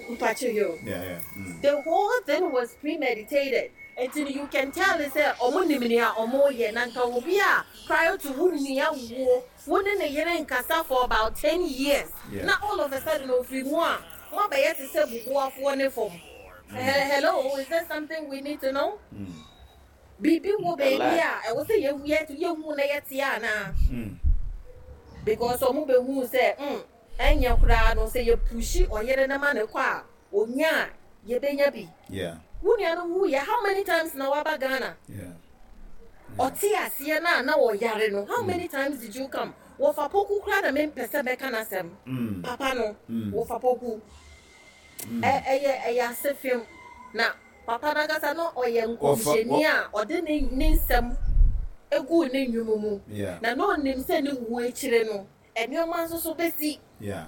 Mpakyɛ yo. Yeah, yeah. Mm. The whole thing was premeditated. Until you can tell it sɛ ɔmo nim nea ɔmo yɛ na nka obi a prior to wo nua wuo wo ne ne yere nkasa for about ten years. Yeah. Na all of a sudden ofiri mu a mo abɛyɛ te sɛ bubuafoɔ ne fam. He- Hello, is there something we need to know? Mm. Biribi wɔ baabi lot. a ɛwɔ sɛ yɛhu yɛ yɛhu na yɛte anaa? Mm. Because ɔmo bɛhu sɛ mm ɛnyɛ koraa no sɛ yɛpushi ɔyere ne ma ne kɔ a onya a yɛbɛnya bi. Yeah. Wo nua no wuyɛ, how many times na waba Ghana? Yeah. Ɔte aseɛ no a na wɔyare no, how many times did you come? Wɔfa Poku koraa na mempɛ sɛ mɛka n'asɛm. Mm. Papa no, Mm. wɔfa Poku. Ɛ- ɛyɛ ɛyɛ ase fam na papa n'ankasa no ɔyɛ nkɔmhyɛni a ɔde ne ne nsɛm egu ne nnwom mu. Yeah. Na na ɔnim sɛ ne wu akyire no nneɛma nso so bɛsi. Yeah.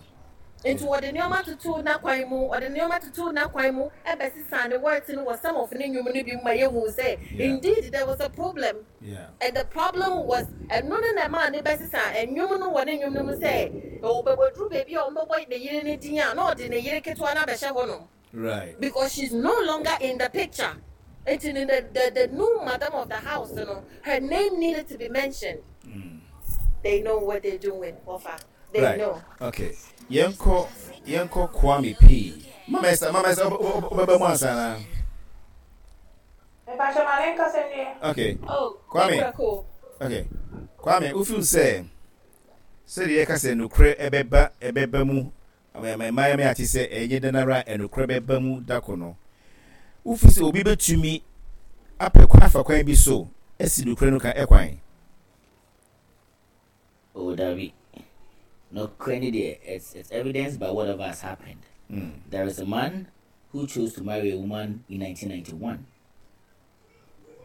Nti wɔde nneɛma toto n'akwan mu, ɔde nneɛma toto n'akwan mu ɛbɛsesa ne words no wɔ some of ne nnwom no bi mu ma yɛhu sɛ Yeah. indeed there was a problem. Yeah. And the problem was ɛno ne na ɛmaa ne bɛsesa nnwom no wɔ ne nnwom no mu sɛ ɔbɛbɛduru baabi a ɔmbɛbɔ ne yere ne din a na ɔde ne yere ketewa no abɛhyɛ hɔ nom Right. because she's no longer in the picture. Nti no, the, the, the new madam of the house, you know, her name needed to be mentioned. Mm. They know what they're doing, Ofa. They Right. know. Okay. Yɛnkɔ yɛnkɔ Kwame P. Mama Esther, Mama Esther, wobɛba mu ansa na. Mepakyɛ ma ne nkasa nwie. Okay. Oh, Kwame. Cool. Okay. Kwame, wofeel sɛ sɛdeɛ yɛka sɛ nokorɛ ɛbɛba ɛbɛba mu mmaa mi ate sɛ ɛnyɛ danara ɛnokorɛ bɛba mu dako no, wofeel sɛ obi bɛtumi apɛ kwan afa kwan bi so ɛsi nokorɛ no ka ɛkwan? Oh, dabi. No, credit there. It's it's evidenced by whatever has happened. Mm. There is a man who chose to marry a woman in nineteen ninety-one.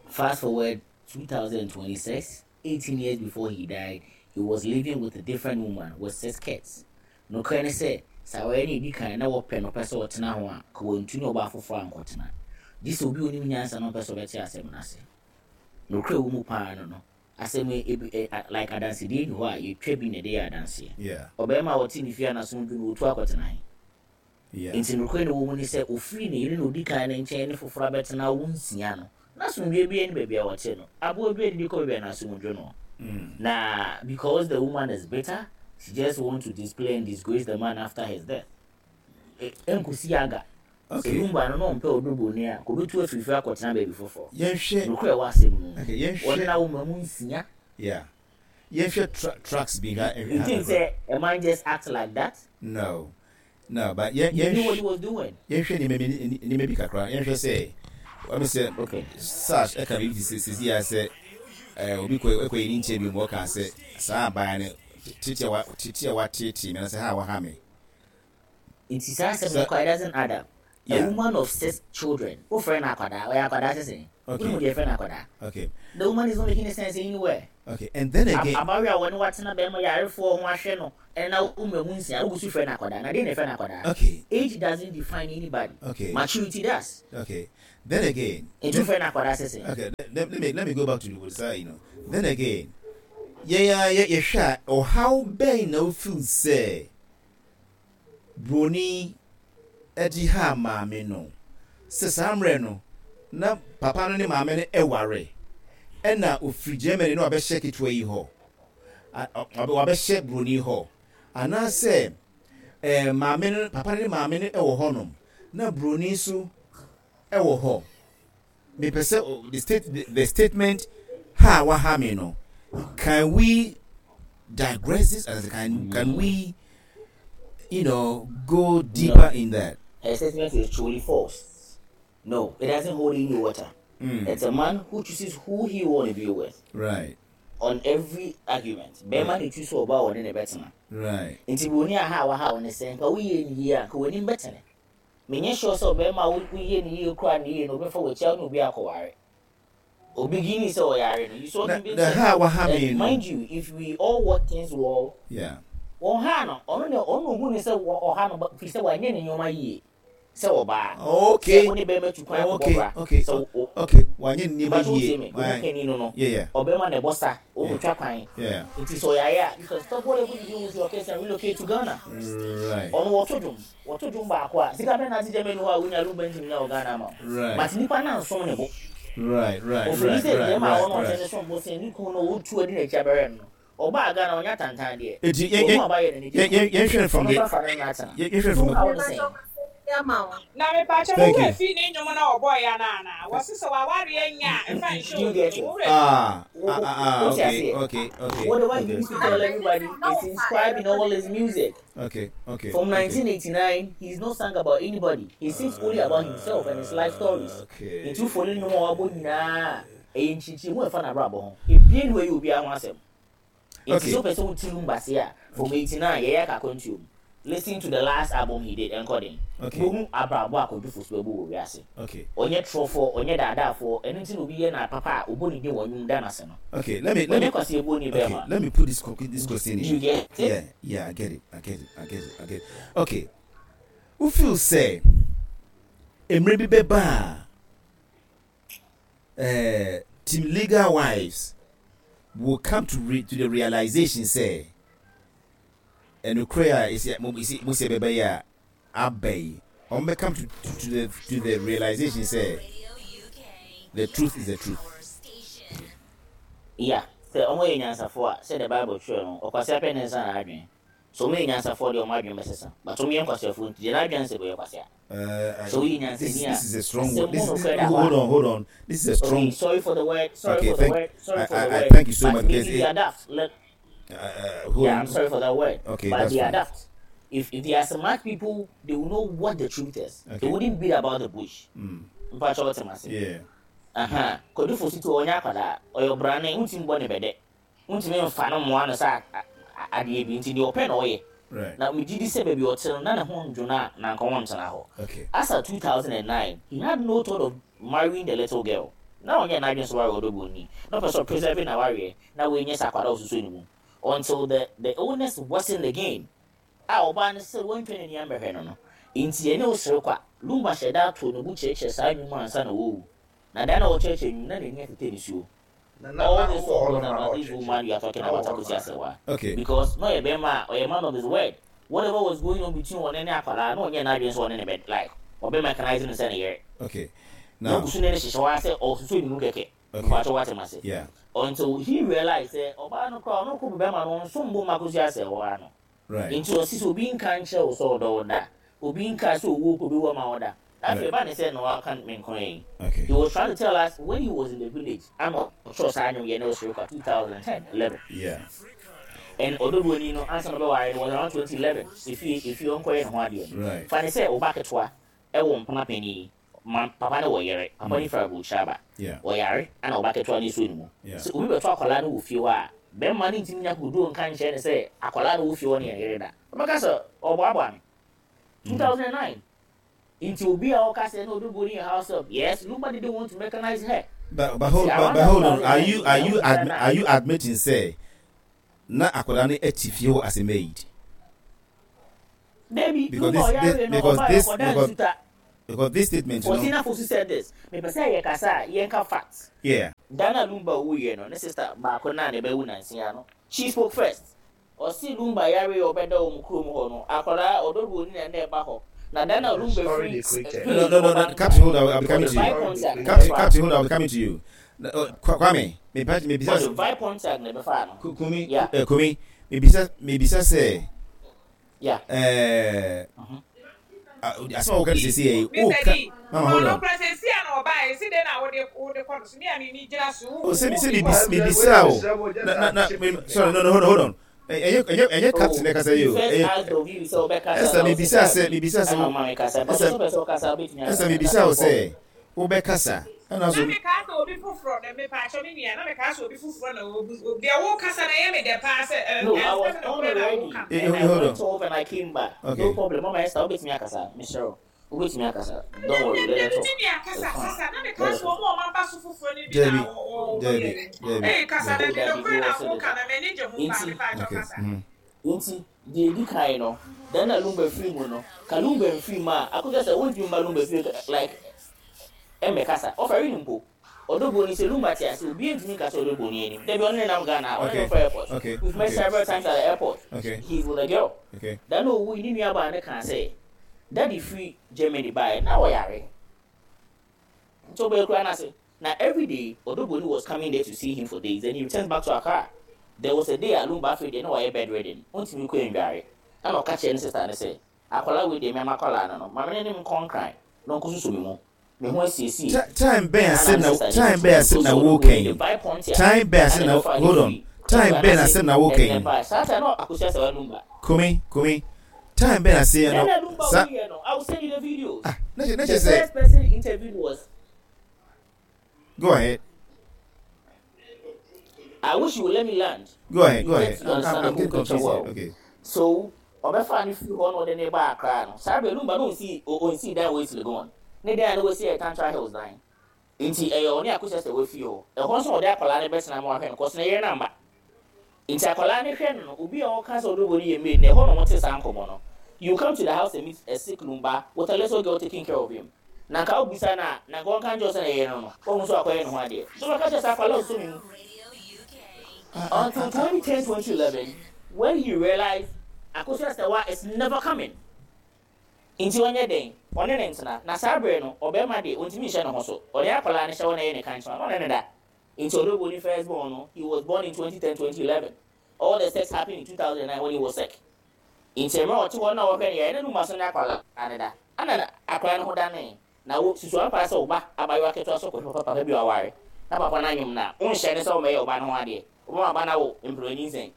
Fast forward twenty twenty-six, eighteen years before he died, he was living with a different woman with six kids. No credit say Sɛ awɔyɛ no edi kan na wɔpɛ no pɛ sɛ ɔtena ho a, ka wɔntu ne ɔbaa foforɔ ankɔtena. Gye sɛ obi a onim nyansa na ɔpɛ sɛ ɔbɛte asɛm no ase. Nokorɛ wɔ mu paa no no, asɛm yi ebi ɛ a like adansedie nni hɔ a yɛtwa bi na ɛde yɛ adanseɛ. Yeah. Ɔbarima a ɔte ne fie a n'asom dwo no, ɔtu akɔtena he? Yeah. Nti nokorɛ na ɛwɔ mu ne sɛ, ɔfiri ne yere na ɔdi kan no nkyɛn ne foforɔ abɛtena awo nsia no, n'asomdwoeɛ biara nni baabi a ɔte no. Aboa bi adidi kɔ baabi a n'asom dwo no. Mm. Na because the woman is bitter, she just want to display and disgrace the man after his death. Ɛnkɔsi aga. Sɛ Okay. Lumba no na ɔmpɛ ɔdɔ buroni a, kɔbɛtu afiri fie akɔtena baabi foforɔ. Yɛnhwɛ Nokorɛ ɛwɔ asɛm no mu. okay, Ɔne yɛnhwɛ n'awoma mu nsia. yeah. Yɛnhwɛ tra tracks bi ha You think sɛ a man just act like that? No. No, but yɛn He knew what yɛnhwɛ he was doing. yɛnhwɛ nneɛma bi nneɛma bi kakra. Yɛnhwɛ sɛ wɔn sɛ Okay. Sash ɛka biribi te sɛ sisi a sɛ ɛɛ obi kɔ ɛkɔ yɛ ne nkyɛn bi mu ɔka sɛ saa aban no tete a wa tete a wateetee mi anasɛ ha a waha mi. Nti saa asɛm no Sɛ kɔ, it doesn't add up. A yeah woman of six children, wofrɛ no akwadaa, ɔyɛ akwadaa sese. okay Wonim deɛ yɛfrɛ no akwadaa. okay The woman is not making any sense anywhere. okay and then Ab- again Abayewa a wɔne watena bɛrima yarefoɔ ho ahwɛ no, ɛna na woma mu nsia, wogu so frɛ no akwadaa. Na deɛ na yɛfrɛ no akwadaa? okay Age doesn't define anybody. okay Maturity does. okay then again Nti then wofrɛ no akwadaa sese. okay let, let me let me go back to the side you know then again yɛn a yɛ yɛhwɛ a ɔhaw bɛn na ofeel sɛ broni ɛde ha maame no sɛ saa mmerɛ no na papa no ne maame no ɛware ɛna ofiri Germany na wabɛhyɛ ketewa yi hɔ A- ɔ- ɔbɛ- wabɛhyɛ broni hɔ anaasɛ ɛɛ maame no papa no ne maame no ɛwɔ hɔnom na broni nso ɛwɔ hɔ mepɛ sɛ o- the state the, the statement ha a waha me no can we digress this as can can we you know go No. deeper in that Her statement is truly false. No, it doesn't hold any water. mm. It's a man who chooses who he want to be with right on every argument. Bɛrima right na etu so ɔbaa wɔne ne bɛtena. right Nti buroni aha a waha wo ne sɛ nka woyɛ ne yie a nka w'anim bɛtene. Menyɛ sure sɛ ɔbɛrima a wo- woyɛ ne yie koraa ne yie no obɛfa w'akyi a wo ne obi akɔware. Obi gini sɛ ɔyare no. You saw na him being na said. ha a waha And me no mind you, if we all work things well, yeah wɔn ha no, ɔno ne ɔno ohu ne sɛ wɔ- ɔha no ba- firi sɛ wanyɛ ne nneɛma yie sɛ ɔbaa. Sɛ okay wo ne bɛrima tu kwan akɔbɔ okay bra. okay Sɛ wo wo- okay wanyɛ nneɛma but wotie yie me, wo ho why kani no no, yeah yeah ɔbɛrima na ɛbɔ sa, yeah ɔmotwa kwan. yeah Nti sɛ ɔyare a, you can stop whatever you do with your kids and relocate to Ghana. right Ɔno wɔto dwom, wɔto dwom baako a, sika bɛn na ate Germany hɔ a wonya Lumba ntumi nya wɔ Ghana ama wo. right But nipa no ansom ne bo. right right Ofiri right sɛ right bɛrima a right ɔno ɔte right ne som bo sɛ ne kunu no ɔtu adi n'akyi abɛrɛ no no. Ɔbaa Ghana ɔnyɛ tantan deɛ. Eti yɛn Ɔno yɛn aba yɛ ne yɛn ne yɛn yɛnhwɛ no from Ɔno the nso afa ne no atena. yɛn yɛnhwɛ no from Nti the wo ha wo ne sɛn? Na mepakyɛ thank wo you fi ne nnwom na ɔbɔɔ ya no ana wɔse sɛ wawareɛ nya a ɛmfa nhyɛ Do you wo get no it? wo werɛ ah Wo- ah wo- ah ah Wote okay aseɛ? okay okay Whatever he okay used to tell everybody is inscribed in all his music. okay okay From okay nineteen eighty-nine, he's not sung about anybody. He sings only about himself and his life stories. okay Nti wofo ne nnwom a wabɔ nyinaa, ɛyɛ nkyinkyim ɛfa n'abrabɔ ho. Ebien wɔ yɛ obiara ho asɛm. Nti okay sɛ wopɛ sɛ wote Lumba se a, from eighty-nine yɛyɛ aka akwantuo mu. Listen to the last album he did, Ɛnkɔden. okay Wohu abrabɔ a Kwadwo Fosu bɛbɔ wɔ wiase. okay Ɔnyɛ torɔfoɔ, ɔnyɛ daadaafoɔ, ɛno nti na obi yɛ na papa a ɔbɔ ne din wɔ nnwom da n'ase no. okay let me let Ɔnyɛ me kwasi ebuo ni okay bɛrima. let me put this co- this question Do you in get it? yeah yeah I get it I get it I get it I get it okay wo feel sɛ mmerɛ bi bɛba a ɛɛ team legal wives will come to re to the realization sɛ ɛnukurɛ a esi mo esi mo sɛ bɛbɛyɛ a aba yi wɔn bɛ come to, to to the to the realization sɛ the truth is the truth. Yeah, sɛ ɔmo yɛ nyansafoɔ a, sɛ the Bible twerɛ no, ɔkwasi apɛ ne nsa na adwene. So ɔmo yɛ nyansafoɔ deɛ ɔmo adwene bɛsesa. But ɔmo yɛ nkwasiafoɔ nti deɛ n'adwene sɛ bɛyɛ kwasia. Uh, I, So woyɛ this nyansani this a, is a strong asɛm word. mu This this nokorɛ da hɔ hold a, on hold on. This is a okay, strong. sorry for the word, sorry Okay, for the thank word, sorry I for the I, I word. thank you so But much maybe because they it, are daft. Let, uh, uh, hold yeah, on. I'm sorry for that word. Okay, But that's they are fine. daft. If if they are smart people, they will know what the truth is. They Okay. wouldn't beat about the bush. Mm. Mpakyɛ wɔte ase. Yeah. Aha. Kwadwo Fosu to ɔnyɛ akwadaa. Ɔyɛ ɔbrane, ntumi bɔ ne bɛdɛ. Ntumi mfa no mmoa no sɛ a- a- adeɛ bi nti deɛ ɔpɛ na ɔyɛ. Right. Na megye di sɛ baabi a ɔte no na ne ho ndwo no a na nka wɔntena hɔ. Okay. As at two thousand nine, he had no thought of marrying the little girl. Na ɔnyɛ n'adwene sɛ ware ɔdɔ buroni. Na ɔpɛ sɛ ɔpreserve n'awareɛ na wɔnyɛ sɛ akwadaa a ɔsoso ne mu. Until the the illness worsened again. A ɔbaa no sɛ wɔntwa n'ani ambɛhwɛ no no. Nti ɛne wo sere kwa. Lumba hyɛ da ato ne bo kyerɛkyerɛ saa nnwom ansa na wɔwu. Na da na ɔkyerɛkyerɛ nnwom na n'ani atete nisuo. All this talk was about this woman you are talking about, Akosua Serwaa. Okay. Because no yɛ bɛrima a ɔyɛ man of his word. Whatever was going on between wɔn ne akwadaa no, ɔnyɛ n'adwene sɛ ɔne ne bɛ like ɔbɛ mechanise no sɛ ne yere. Okay. Na Now. ogu so ne ne hyehyɛ hɔ ara sɛ ɔsoso ne mu kɛkɛ. Okay. Mpakyɛ wate ma se. Yeah. Until he realized sɛ ɔbaa no koraa ɔno kɔ bɛrima no ɔnsom bo ma Akosua Serwaa no. Right. Nti ɔsi sɛ obi nka nkyerɛ wo sɛ ɔdɔ wo da. Obi nka sɛ owuo kɔ bi wɔ ma wo da. Afei ba ne sɛ na waka me nko yi. Okay. He was trying to tell us when he was in the village. I'm sure saa nnwom yɛ ne ɔsoro kwa twenty ten eleven. Yeah. And Odobroni no ansa na ɔbɛware no was around twenty eleven. Efi efi ɔnkɔyɛ ne ho adeɛ no. Right. Fa ne sɛ ɔba ketewa ɛwɔ mpena panyin ma papa ne wɔ yere. Papa ne fira aburokyire aba. Yeah. Ɔyare ana ɔba ketewa ne so ne mu. Yeah. Sɛ obi bɛtɔ akwadaa no wɔ fie hɔ a, bɛrima no ntumi nya kodoɔ nka nkyerɛ ne sɛ akwadaa no wɔ fie hɔ ne yɛ yere da. Ɔbɛka sɛ ɔboaboa no. two thousand nine. Nti obi a ɔka sɛ no Odobroni yɛ house help. Yes, Lumba didn't want to mechanize her. But but hold See, but, around but hold on. Are you are you two thousand nine, admi- are you admitting sɛ na akwadaa no ati fie hɔ as a maid? Debi, Because Lumba this, this ɔyare no because ɔba this ɔkɔda because nsuta. because this statement you know Faustina Fosu said this. Mepɛ sɛ yɛ kasa a yɛnka facts. Yeah. Dana Lumba wuyɛ no, ne sister baako na ne bɛwu nansia no. She spoke first. Ɔsi Lumba yare a ɔbɛda wɔn kurom hɔ no, akwadaa Odobroni na ɛna ɛba hɔ. Na Dana The Lumba story firi they created. No, no, no, no, Captain, hold on, I'll be coming to you. Ɔde Pontiac na Captain, ɛbɛfa Captain, hold on, I'll be coming to you. Uh, Kwame, me me bisa Ɔde Vi Pontiac na ɛbɛfa no. Kumi, Yeah. uh, Kumi, me bisa me bisa sɛ Yeah. eh asɛm a wɔka no sɛsi yɛ Mister D, Mama, hold ɔno on. kura sɛ si a na ɔbaa yi si de na wode wode kɔ no so mi a mi mi gyina so. Oh, sɛ sɛ me bisa o. Na na na me, sorry, no, no, hold on, hold on. Ɛyɛ ɛyɛ ɛyɛ captain na kasa yi o. First Ɛyɛ asked of you sɛ ɔbɛkasa. Ɛsɛ me bisa sɛ me bisa sɛ Ɛna ɔma mi kasa. But ɛsɛ sɛ ɔpɛ sɛ ɔkasa, ɔbɛtumi ɛsɛ akasa. me bisa o sɛ wobɛkasa. Ɛna Na so mi kaa sɛ obi foforɔ na mi pa akyɛ mi nua na mi kaa sɛ obi foforɔ na obi deɛ wo kasa na ɛyɛ mi dɛ paa sɛ ɛ No, I was ɛnsɛm na on kura na wo already. ka. Eh, And eh, I hold went on. off and I came back. Okay. No problem. Mama Esther, wobɛtumi akasa. Michelle, wobɛtumi akasa. Don't worry, let her talk. Mi nua kasa It's fine. kasa na mi kaa Let her sɛ talk. wɔn a wɔn aba so foforɔ no bi Debi, na wɔ wɔ Debi, yɛ. Debi. Ee, kasa na Debi. deɛ kura na Debi. wo ka na m'ani gye ho paa, Nti- mi pa akyɛ Okay. kasa. Mm. Nti deɛ edi kan no, dan na Lumba firi mu no, ka Lumba mfiri mu a, akɔsɛ sɛ wontumi mba Lumba firi like ɛmɛ kasa ɔfɛre ne mpo. Odobroni sɛ Lumba te ase, obi ntumi nkasa Odobroni anim. Dabi, ɔno ne nam Ghana, ɔne Okay. no fɔ airport. Okay. We've met Okay. several times at the airport. Okay. He's with a girl. Okay. Dan na owu yi, ne nua baa ne kaa sɛ daddy firi Germany baeɛ na ɔyare nti ɔbɛyɛ kura n'ase na every day Odobroni was coming there to see him for days, then he returns back to Accra. There was a day a Lumba afei deɛ na wayɛ bedridden, ɔntumi kɔ ndware, ɛna ɔka kyerɛ ne sister ne sɛ akwadaa wei deɛ, mɛma akwadaa no no maame ne ne nkɔ Nkran na ɔnkɔ soso mi mu me ho asiesie. Ti- Time bɛn asɛm na time bɛn asɛm na wɔkɛn? Time bɛn asɛm na, hold on. Time bɛn asɛm na wɔkɛn? Saa time na Akosua Serwaa Lumba. Kumi, Kumi. Time bɛn asɛm Nana na Lumba sa wuyɛ no, I will send you the videos. Ah, na kyerɛ na The kyerɛ sɛ first person interviewed was Go ahead. I wish you would let me land. Go ahead. You Go get ahead. to I'm, I'm, understand I'm the whole getting picture confused here. well. Okay. So ɔbɛfa ne firi hɔ na ɔde ne ba Akra no, saa bɛ Lumba no onsi onsi dan wɔ esi Legon ne dan no wɔsi yɛ Tantra Hills dan, nti ɛyɛ ɔne Akosua sɛ wɔfi hɔ. Ɛhɔ nso ɔde akwadaa no bɛtena mu ahwɛ no kɔsɛ ne yere namba, nti akwadaa no hwɛ no no obi a ɔka sɛ Odobroni yɛ maid na ɛhɔ na wɔte saa nkɔmɔ no. You come to the house and meet a sick Lumba with a little girl taking care of him, na nka obisa na na nka ɔnka nkyɛn sɛ na yere no no wɔn nso akɔyɛ ne ho adeɛ so ɔka kyerɛ sɛ akwadaa ɔsɔ mi mu until twenty ten, twenty eleven, when he realized Akosua Serwaa is never coming. Nti ɔnyɛ den ɔne ne ntena na saa bere no ɔbɛrima de ɔntumi nhyɛ ne ho so, ɔne akwadaa no hyɛ hɔ na ɛyɛ ne kankyɛn na ɔne ne da. Nti Odobroni first born no, he was born in twenty ten, twenty eleven. All the sex happened in two thousand nine when he was sick. Nti mmerɛ ɔte hɔ na ɔhwɛ ne yɛ ne numa so ne akwadaa ne da ana na akwadaa no ho dane na wo susu ampa sɛ ɔba abayewa ketewa so kɔhwɛ papa bi a ɔware na papa no anyom na wonhyɛ ne sɛ ɔmɛyɛ ɔba no ho adeɛ, ɔbɛma aba no awo mproni nsɛn.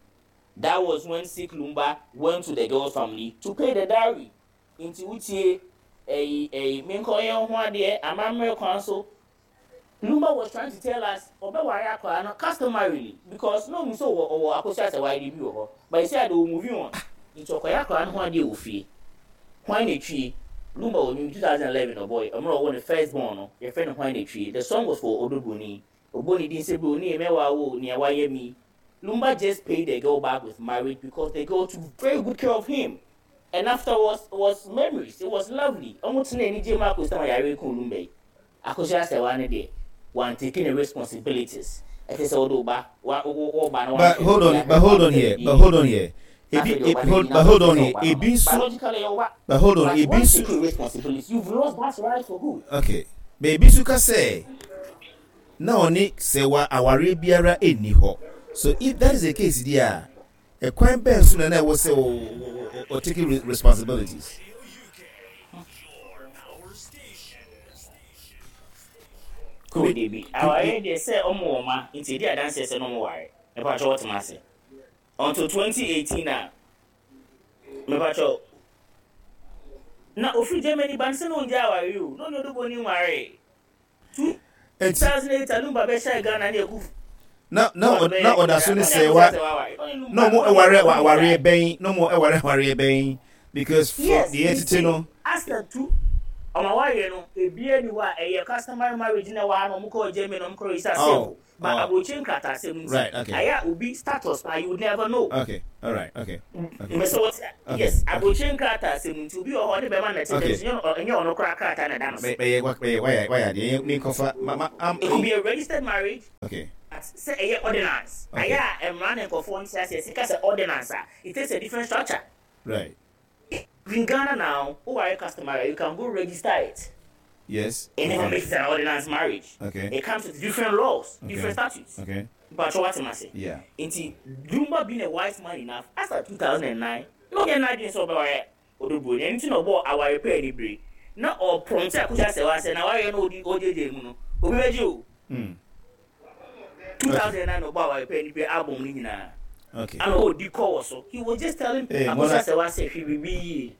That was when sick Lumba went to the girl's family to pay the dowry. Nti wutie ɛyi ɛyi menkɔyɛ ho adeɛ amammerɛ kwan so. Lumba was trying to tell us ɔbɛware akwadaa no customarily because no mu sɛ ɔwɔ ɔwɔ Akosua sɛ wayɛ bi wɔ hɔ, but you see ade wɔ moving on, nti ɔkɔyɛ akwadaa no ho adeɛ wɔ fie. Hwan na etwie Lumba wɔ new twenty eleven ɔbɔy ɔmmerɛ ɔwɔ ne first born no, yɛfrɛ no Hwan na Etwie. The song was for Odobroni. Ɔbɔ ne din sɛ broni mɛwa wo nea wayɛ mi. Lumba just paid the girl back with marriage because the girl took very good care of him. And afterwards was memories. It was lovely. Ɔmo tena anigye mu akɔsi ma yare kun Lumba yi. Akosua Serwaa ne deɛ, wan taking the responsibilities. Ɛte sɛ wode wo ba, wa wo wo ba no But wanhwɛ hold no on, yie but ahwɛ hold no on here, yie. but hold on here. Na afei Ebi, deɛ wo e, ba no hold, anyin but na hold wopɛ on sɛ wo here. ba no no. Ebi nso, Biologically ɛyɛ wo ba. but hold on. But Ebi once nso, take your responsibilities, you've lost that right for good. okay. But ebi nso ka sɛ na ɔne Serwaa awareɛ biara ɛnni hɔ. So if that is the case, deɛ, ɛkwan bɛn so na na ɛwɔ sɛ o o o taking re- responsibilities. Cool, Kumi, debi. kumi, Awareɛ deɛ sɛ ɔmo wɔ ma nti edi adanseɛ sɛ na ɔmo ware. Mepakyɛ wɔtema ase. Until twenty eighteen a mepakyɛ na ofiri Germany ba no sɛ na ongya aware o na ɔne Odo Broni nware. Eti two thousand eight a Lumba bɛhyɛ Ghana ne Akufo na na Addo ɔ- na bɛyɛ ɔda so ne ɔne Serwaa Akosua Serwaa ware. Ɔne na Lumba ɔmo ɔne ɛware ɔne awareɛ gyae. bɛn na ɔmo ɛware awareɛ bɛn, because for Yes, deɛ nti ɛtete no. After two ɔmo awareɛ no ebie ni hɔ a ɛyɛ customary marriage na ɛwɔ ha na ɔmo kɔɔ Germany na ɔmo kɔɔ register Oh, civil, but oh, aburokyi nkratasɛm nti right, okay, ayɛ a obi status na you would never know. Okay, all right, okay, okay, Mbɛsɛ wɔte okay, yes, okay, aburokyi nkratasɛm nti obi wɔ hɔ ɔne bɛrima na ɛte dɛm okay. so ɛnyɛ ɛnyɛ ɔno koraa krataa na ɛda no so. Bɛ bɛyɛ wa bɛyɛ wayɛ wayɛ adeɛ mi nkɔfa ma ma am It could be a registered marriage okay but sɛ ɛyɛ ordinance okay ayɛ a mmara ne nkɔfoɔ nte aseɛ sika sɛ ordinance a, it takes a different structure. Right in Ghana now, who are customary, you can go register it. Yes It never okay makes it an ordinance marriage. Okay it comes with different laws, okay different statutes. Okay but what am I saying? Yeah. Nti Lumba being a wise man enough, as at two thousand nine na ɔnyɛ n'adwene sɛ ɔbɛware Odo Broni. Ɛno nti na ɔbɔ aware pɛɛ ne bere na ɔprɔnte Akosua Serwaa sɛ na awareɛ no ɔdi ɔgyegye mu no obi bɛgye o. mm. two thousand nine na ɔbɔ aware pɛɛ ne bere album no nyinaa okay ana ɔdi kɔ wɔ so. He was just telling Hey, Akosua Mona. Serwaa sɛ hwɛ biribi yie,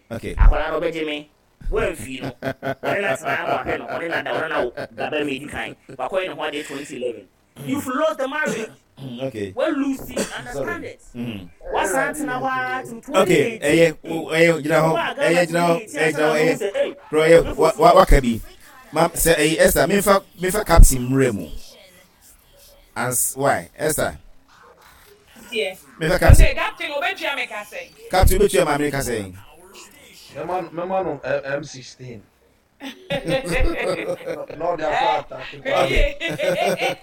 okay akwadaa no ɔbɛgye me wɔamfii no ɔne na tena ama ɔhwɛ no ɔne na da ɔne na wo daba mi edi kan wakɔyɛ ne ho adeɛ twenty eleven. You've lost the marriage. Okay well, Lucy, understand Sorry. it. mm. Wasan tena hɔ ara till Okay. twenty eighteen. Ɛyɛ ɛyɛ gyina hɔ. Ɔbaa Ɛyɛ Ghana gyina hɔ. twenty eighteen Ɛyɛ ansa gyina na hɔ. ɔmo Ɛyɛ sɛ ei bro, ɛyɛ wa wa waka bi ma sɛ ɛyɛ Esther, memfa memfa captain mmerɛ mu ans why Esther Yeah. memfa captain. Ɔsɛ captain obetua mi ka sɛ. Captain, wobɛtua maame ka sɛn? Mɛma mɛma no M sixteen. Na ɔde akɔ atake. Okay. Okay.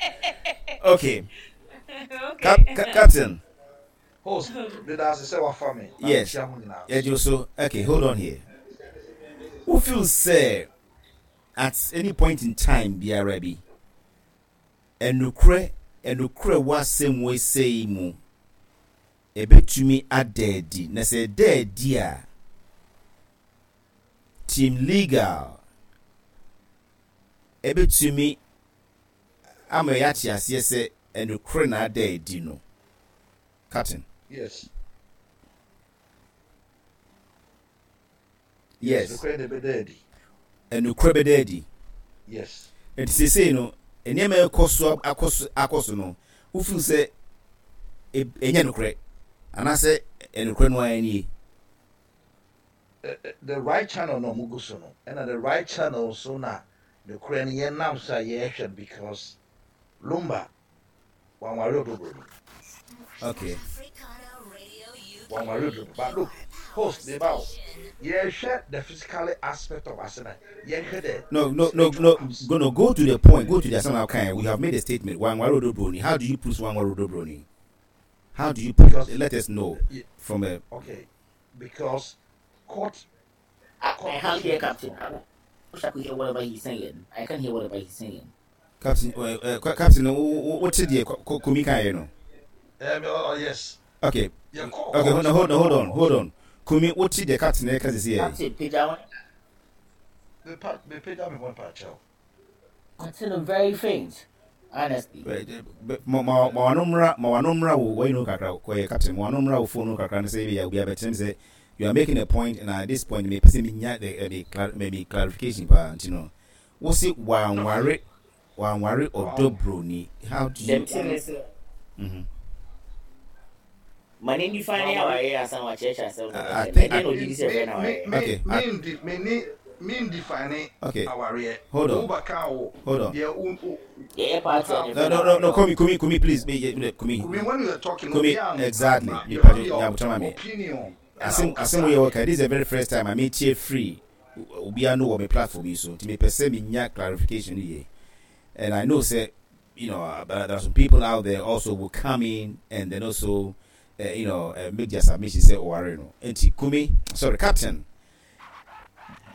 Okay. Cap, cap, captain Host, meda ase sɛ wafa me. Na Yes. mekyia mo nyinaa. Yɛgye so. Okay, hold on here. Wo feel sɛ at any point in time biara bi ɛnukurɛ ɛnukurɛ wɔ asɛm wɔ ese yi mu ebetumi ada adi, na sɛ ɛda adi a, team legal ebetumi ama yɛate aseɛ sɛ ɛnukurɛ na ada adi no, captain? Yes. Yes. Nokorɛ na ɛbɛda adi. Ɛnukurɛ bɛda adi. Yes. Nti seesei no nneɛma ɛkɔ so akɔ so akɔ so no, wofeel sɛ e- ɛnyɛ nokorɛ anaasɛ ɛnokorɛ no ara nie? Eh, eh, The right channel na ɔmo gu so no. Ɛna the right channel so na nokorɛ no yɛnam so a yɛrehwɛ no because Lumba wanware Odo Broni. Okay Wanware Odo Broni. But look, host, de ba o. Yɛrehwɛ the physical aspect of asena. Yɛnhwɛ the no no no no go no go to the point. Go to the asɛm kind. We have made a statement, wanware Odo Broni. How do you prove wanware Odo Broni? How do you prove? Because Let us know yeah, from a okay, because court I court can't hear proceedings captain. no. I wish I could hear whatever he's saying. I can't hear whatever he's saying. Captain, uh, uh, captain, what did Kumi kan yɛ no? Um, oh, oh, yes. Okay. Yeah, court Okay, hold court on, hold on, hold on, no. hold on. Kumi, what did the captain ɛka sisi yɛ? Captain pagya wɔn. Me pa me pagya me one pa kyɛw. Captain very faint, honestly. Ma ma ma wano mmra, ma wano mmra wo wɔyi no kakra kɔyɛ. Captain, ma wano mmra wo phone no kakra no sɛ ebi obi abɛkyerɛ sɛ you are making a point, and at this point me pɛ sɛ me nya the the clar maybe clarification paa. Nti no wosi wanware wanware Odo Broni, how do you Dem thing is mm-hmm. ma ne nifa ne awareɛ asan wakyerɛkyerɛ asɛm no. I, I think ɛdeɛ I, na ogye di sɛ ɛfrɛ no Me awareɛ. me Okay, I, me ndi me ni me define okay awareɛ. Hold on. Wo ka wo. Hold on. Deɛ wo wo Yɛyɛ party a No, ne no, no, no, Kumi, Kumi, Kumi, please, me, yeah, Kumi. Kumi, when you are talking, Kumi, obi exactly. you Me have pardon, your yeah, but me. opinion. Asɛm asɛm yɛ wɔka, this is the very first time a metie free obiara no wɔ me platform yi so, nti mepɛ sɛ menya clarification yie. And I know sɛ you know uh, there are some people out there also will come in and then also uh, you know uh, make their submission sɛ ɔware no. Nti Kumi, sorry, Captain,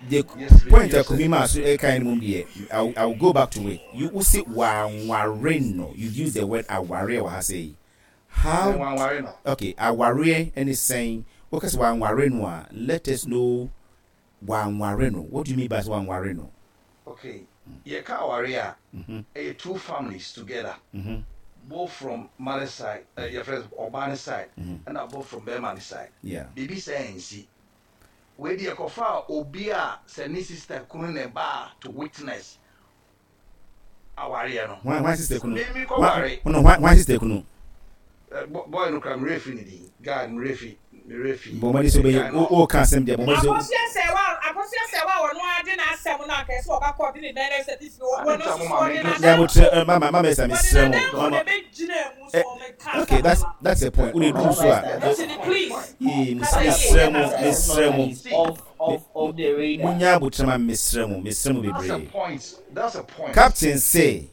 the Yes, point a yes, Kumi ma so ɛka no mu deɛ, I will, I will go back to it. You will say wanware no, you use the word aware wɔ ha sɛ how? Wanware no. Okay, aware ɛne sɛn? Wɔka sɛ wanware no a, let us know wanware no. What do you mean by wanware no? Okay, yɛka aware a, mm-hmm. ɛyɛ two families together, Mm-hmm. both from mother side, uh, yɛfrɛ ɔbaa ne side, ɛna both from bɛrima ne side. Yeah biribi sɛ ɛnsi wei deɛ, kɔfa a obi a sɛ ne sister kunu ne ba to witness awareɛ no. Hwan hwan sister kunu? Me me kɔware. No, hwan hwan sister kunu? Eh, bo- boy no kora mmerɛ fi ne din, guy mmerɛ fi mmerɛ fi. Bɔnmɔden sɛ ɔbɛyɛ o o ka asɛm deɛ, bɔnmɔden sɛ Akosua Sɛwa, Akosua Sɛwa, wɔn ade n'asɛm no akɛse ɔba kɔ de ne nan ɛsɛ ti fi wɔn Ade nso nta mo so ma ɔde me n'adanfo nyabotrɛ, mama mama ɛsɛ wɔde mesrɛ mo n'adanfo mama na ɛbɛgyina mu so Eh, ɔmɛka okay, that's asɛm that's the point. Wode duru so a nti ni please. Yee, Kasa yie. mesrɛ mo, mesrɛ mo. Is off off off the radar. Munya abotrɛ ma, mesrɛ mo, mesrɛ mo That's a bebree. point, that's a point. Captain say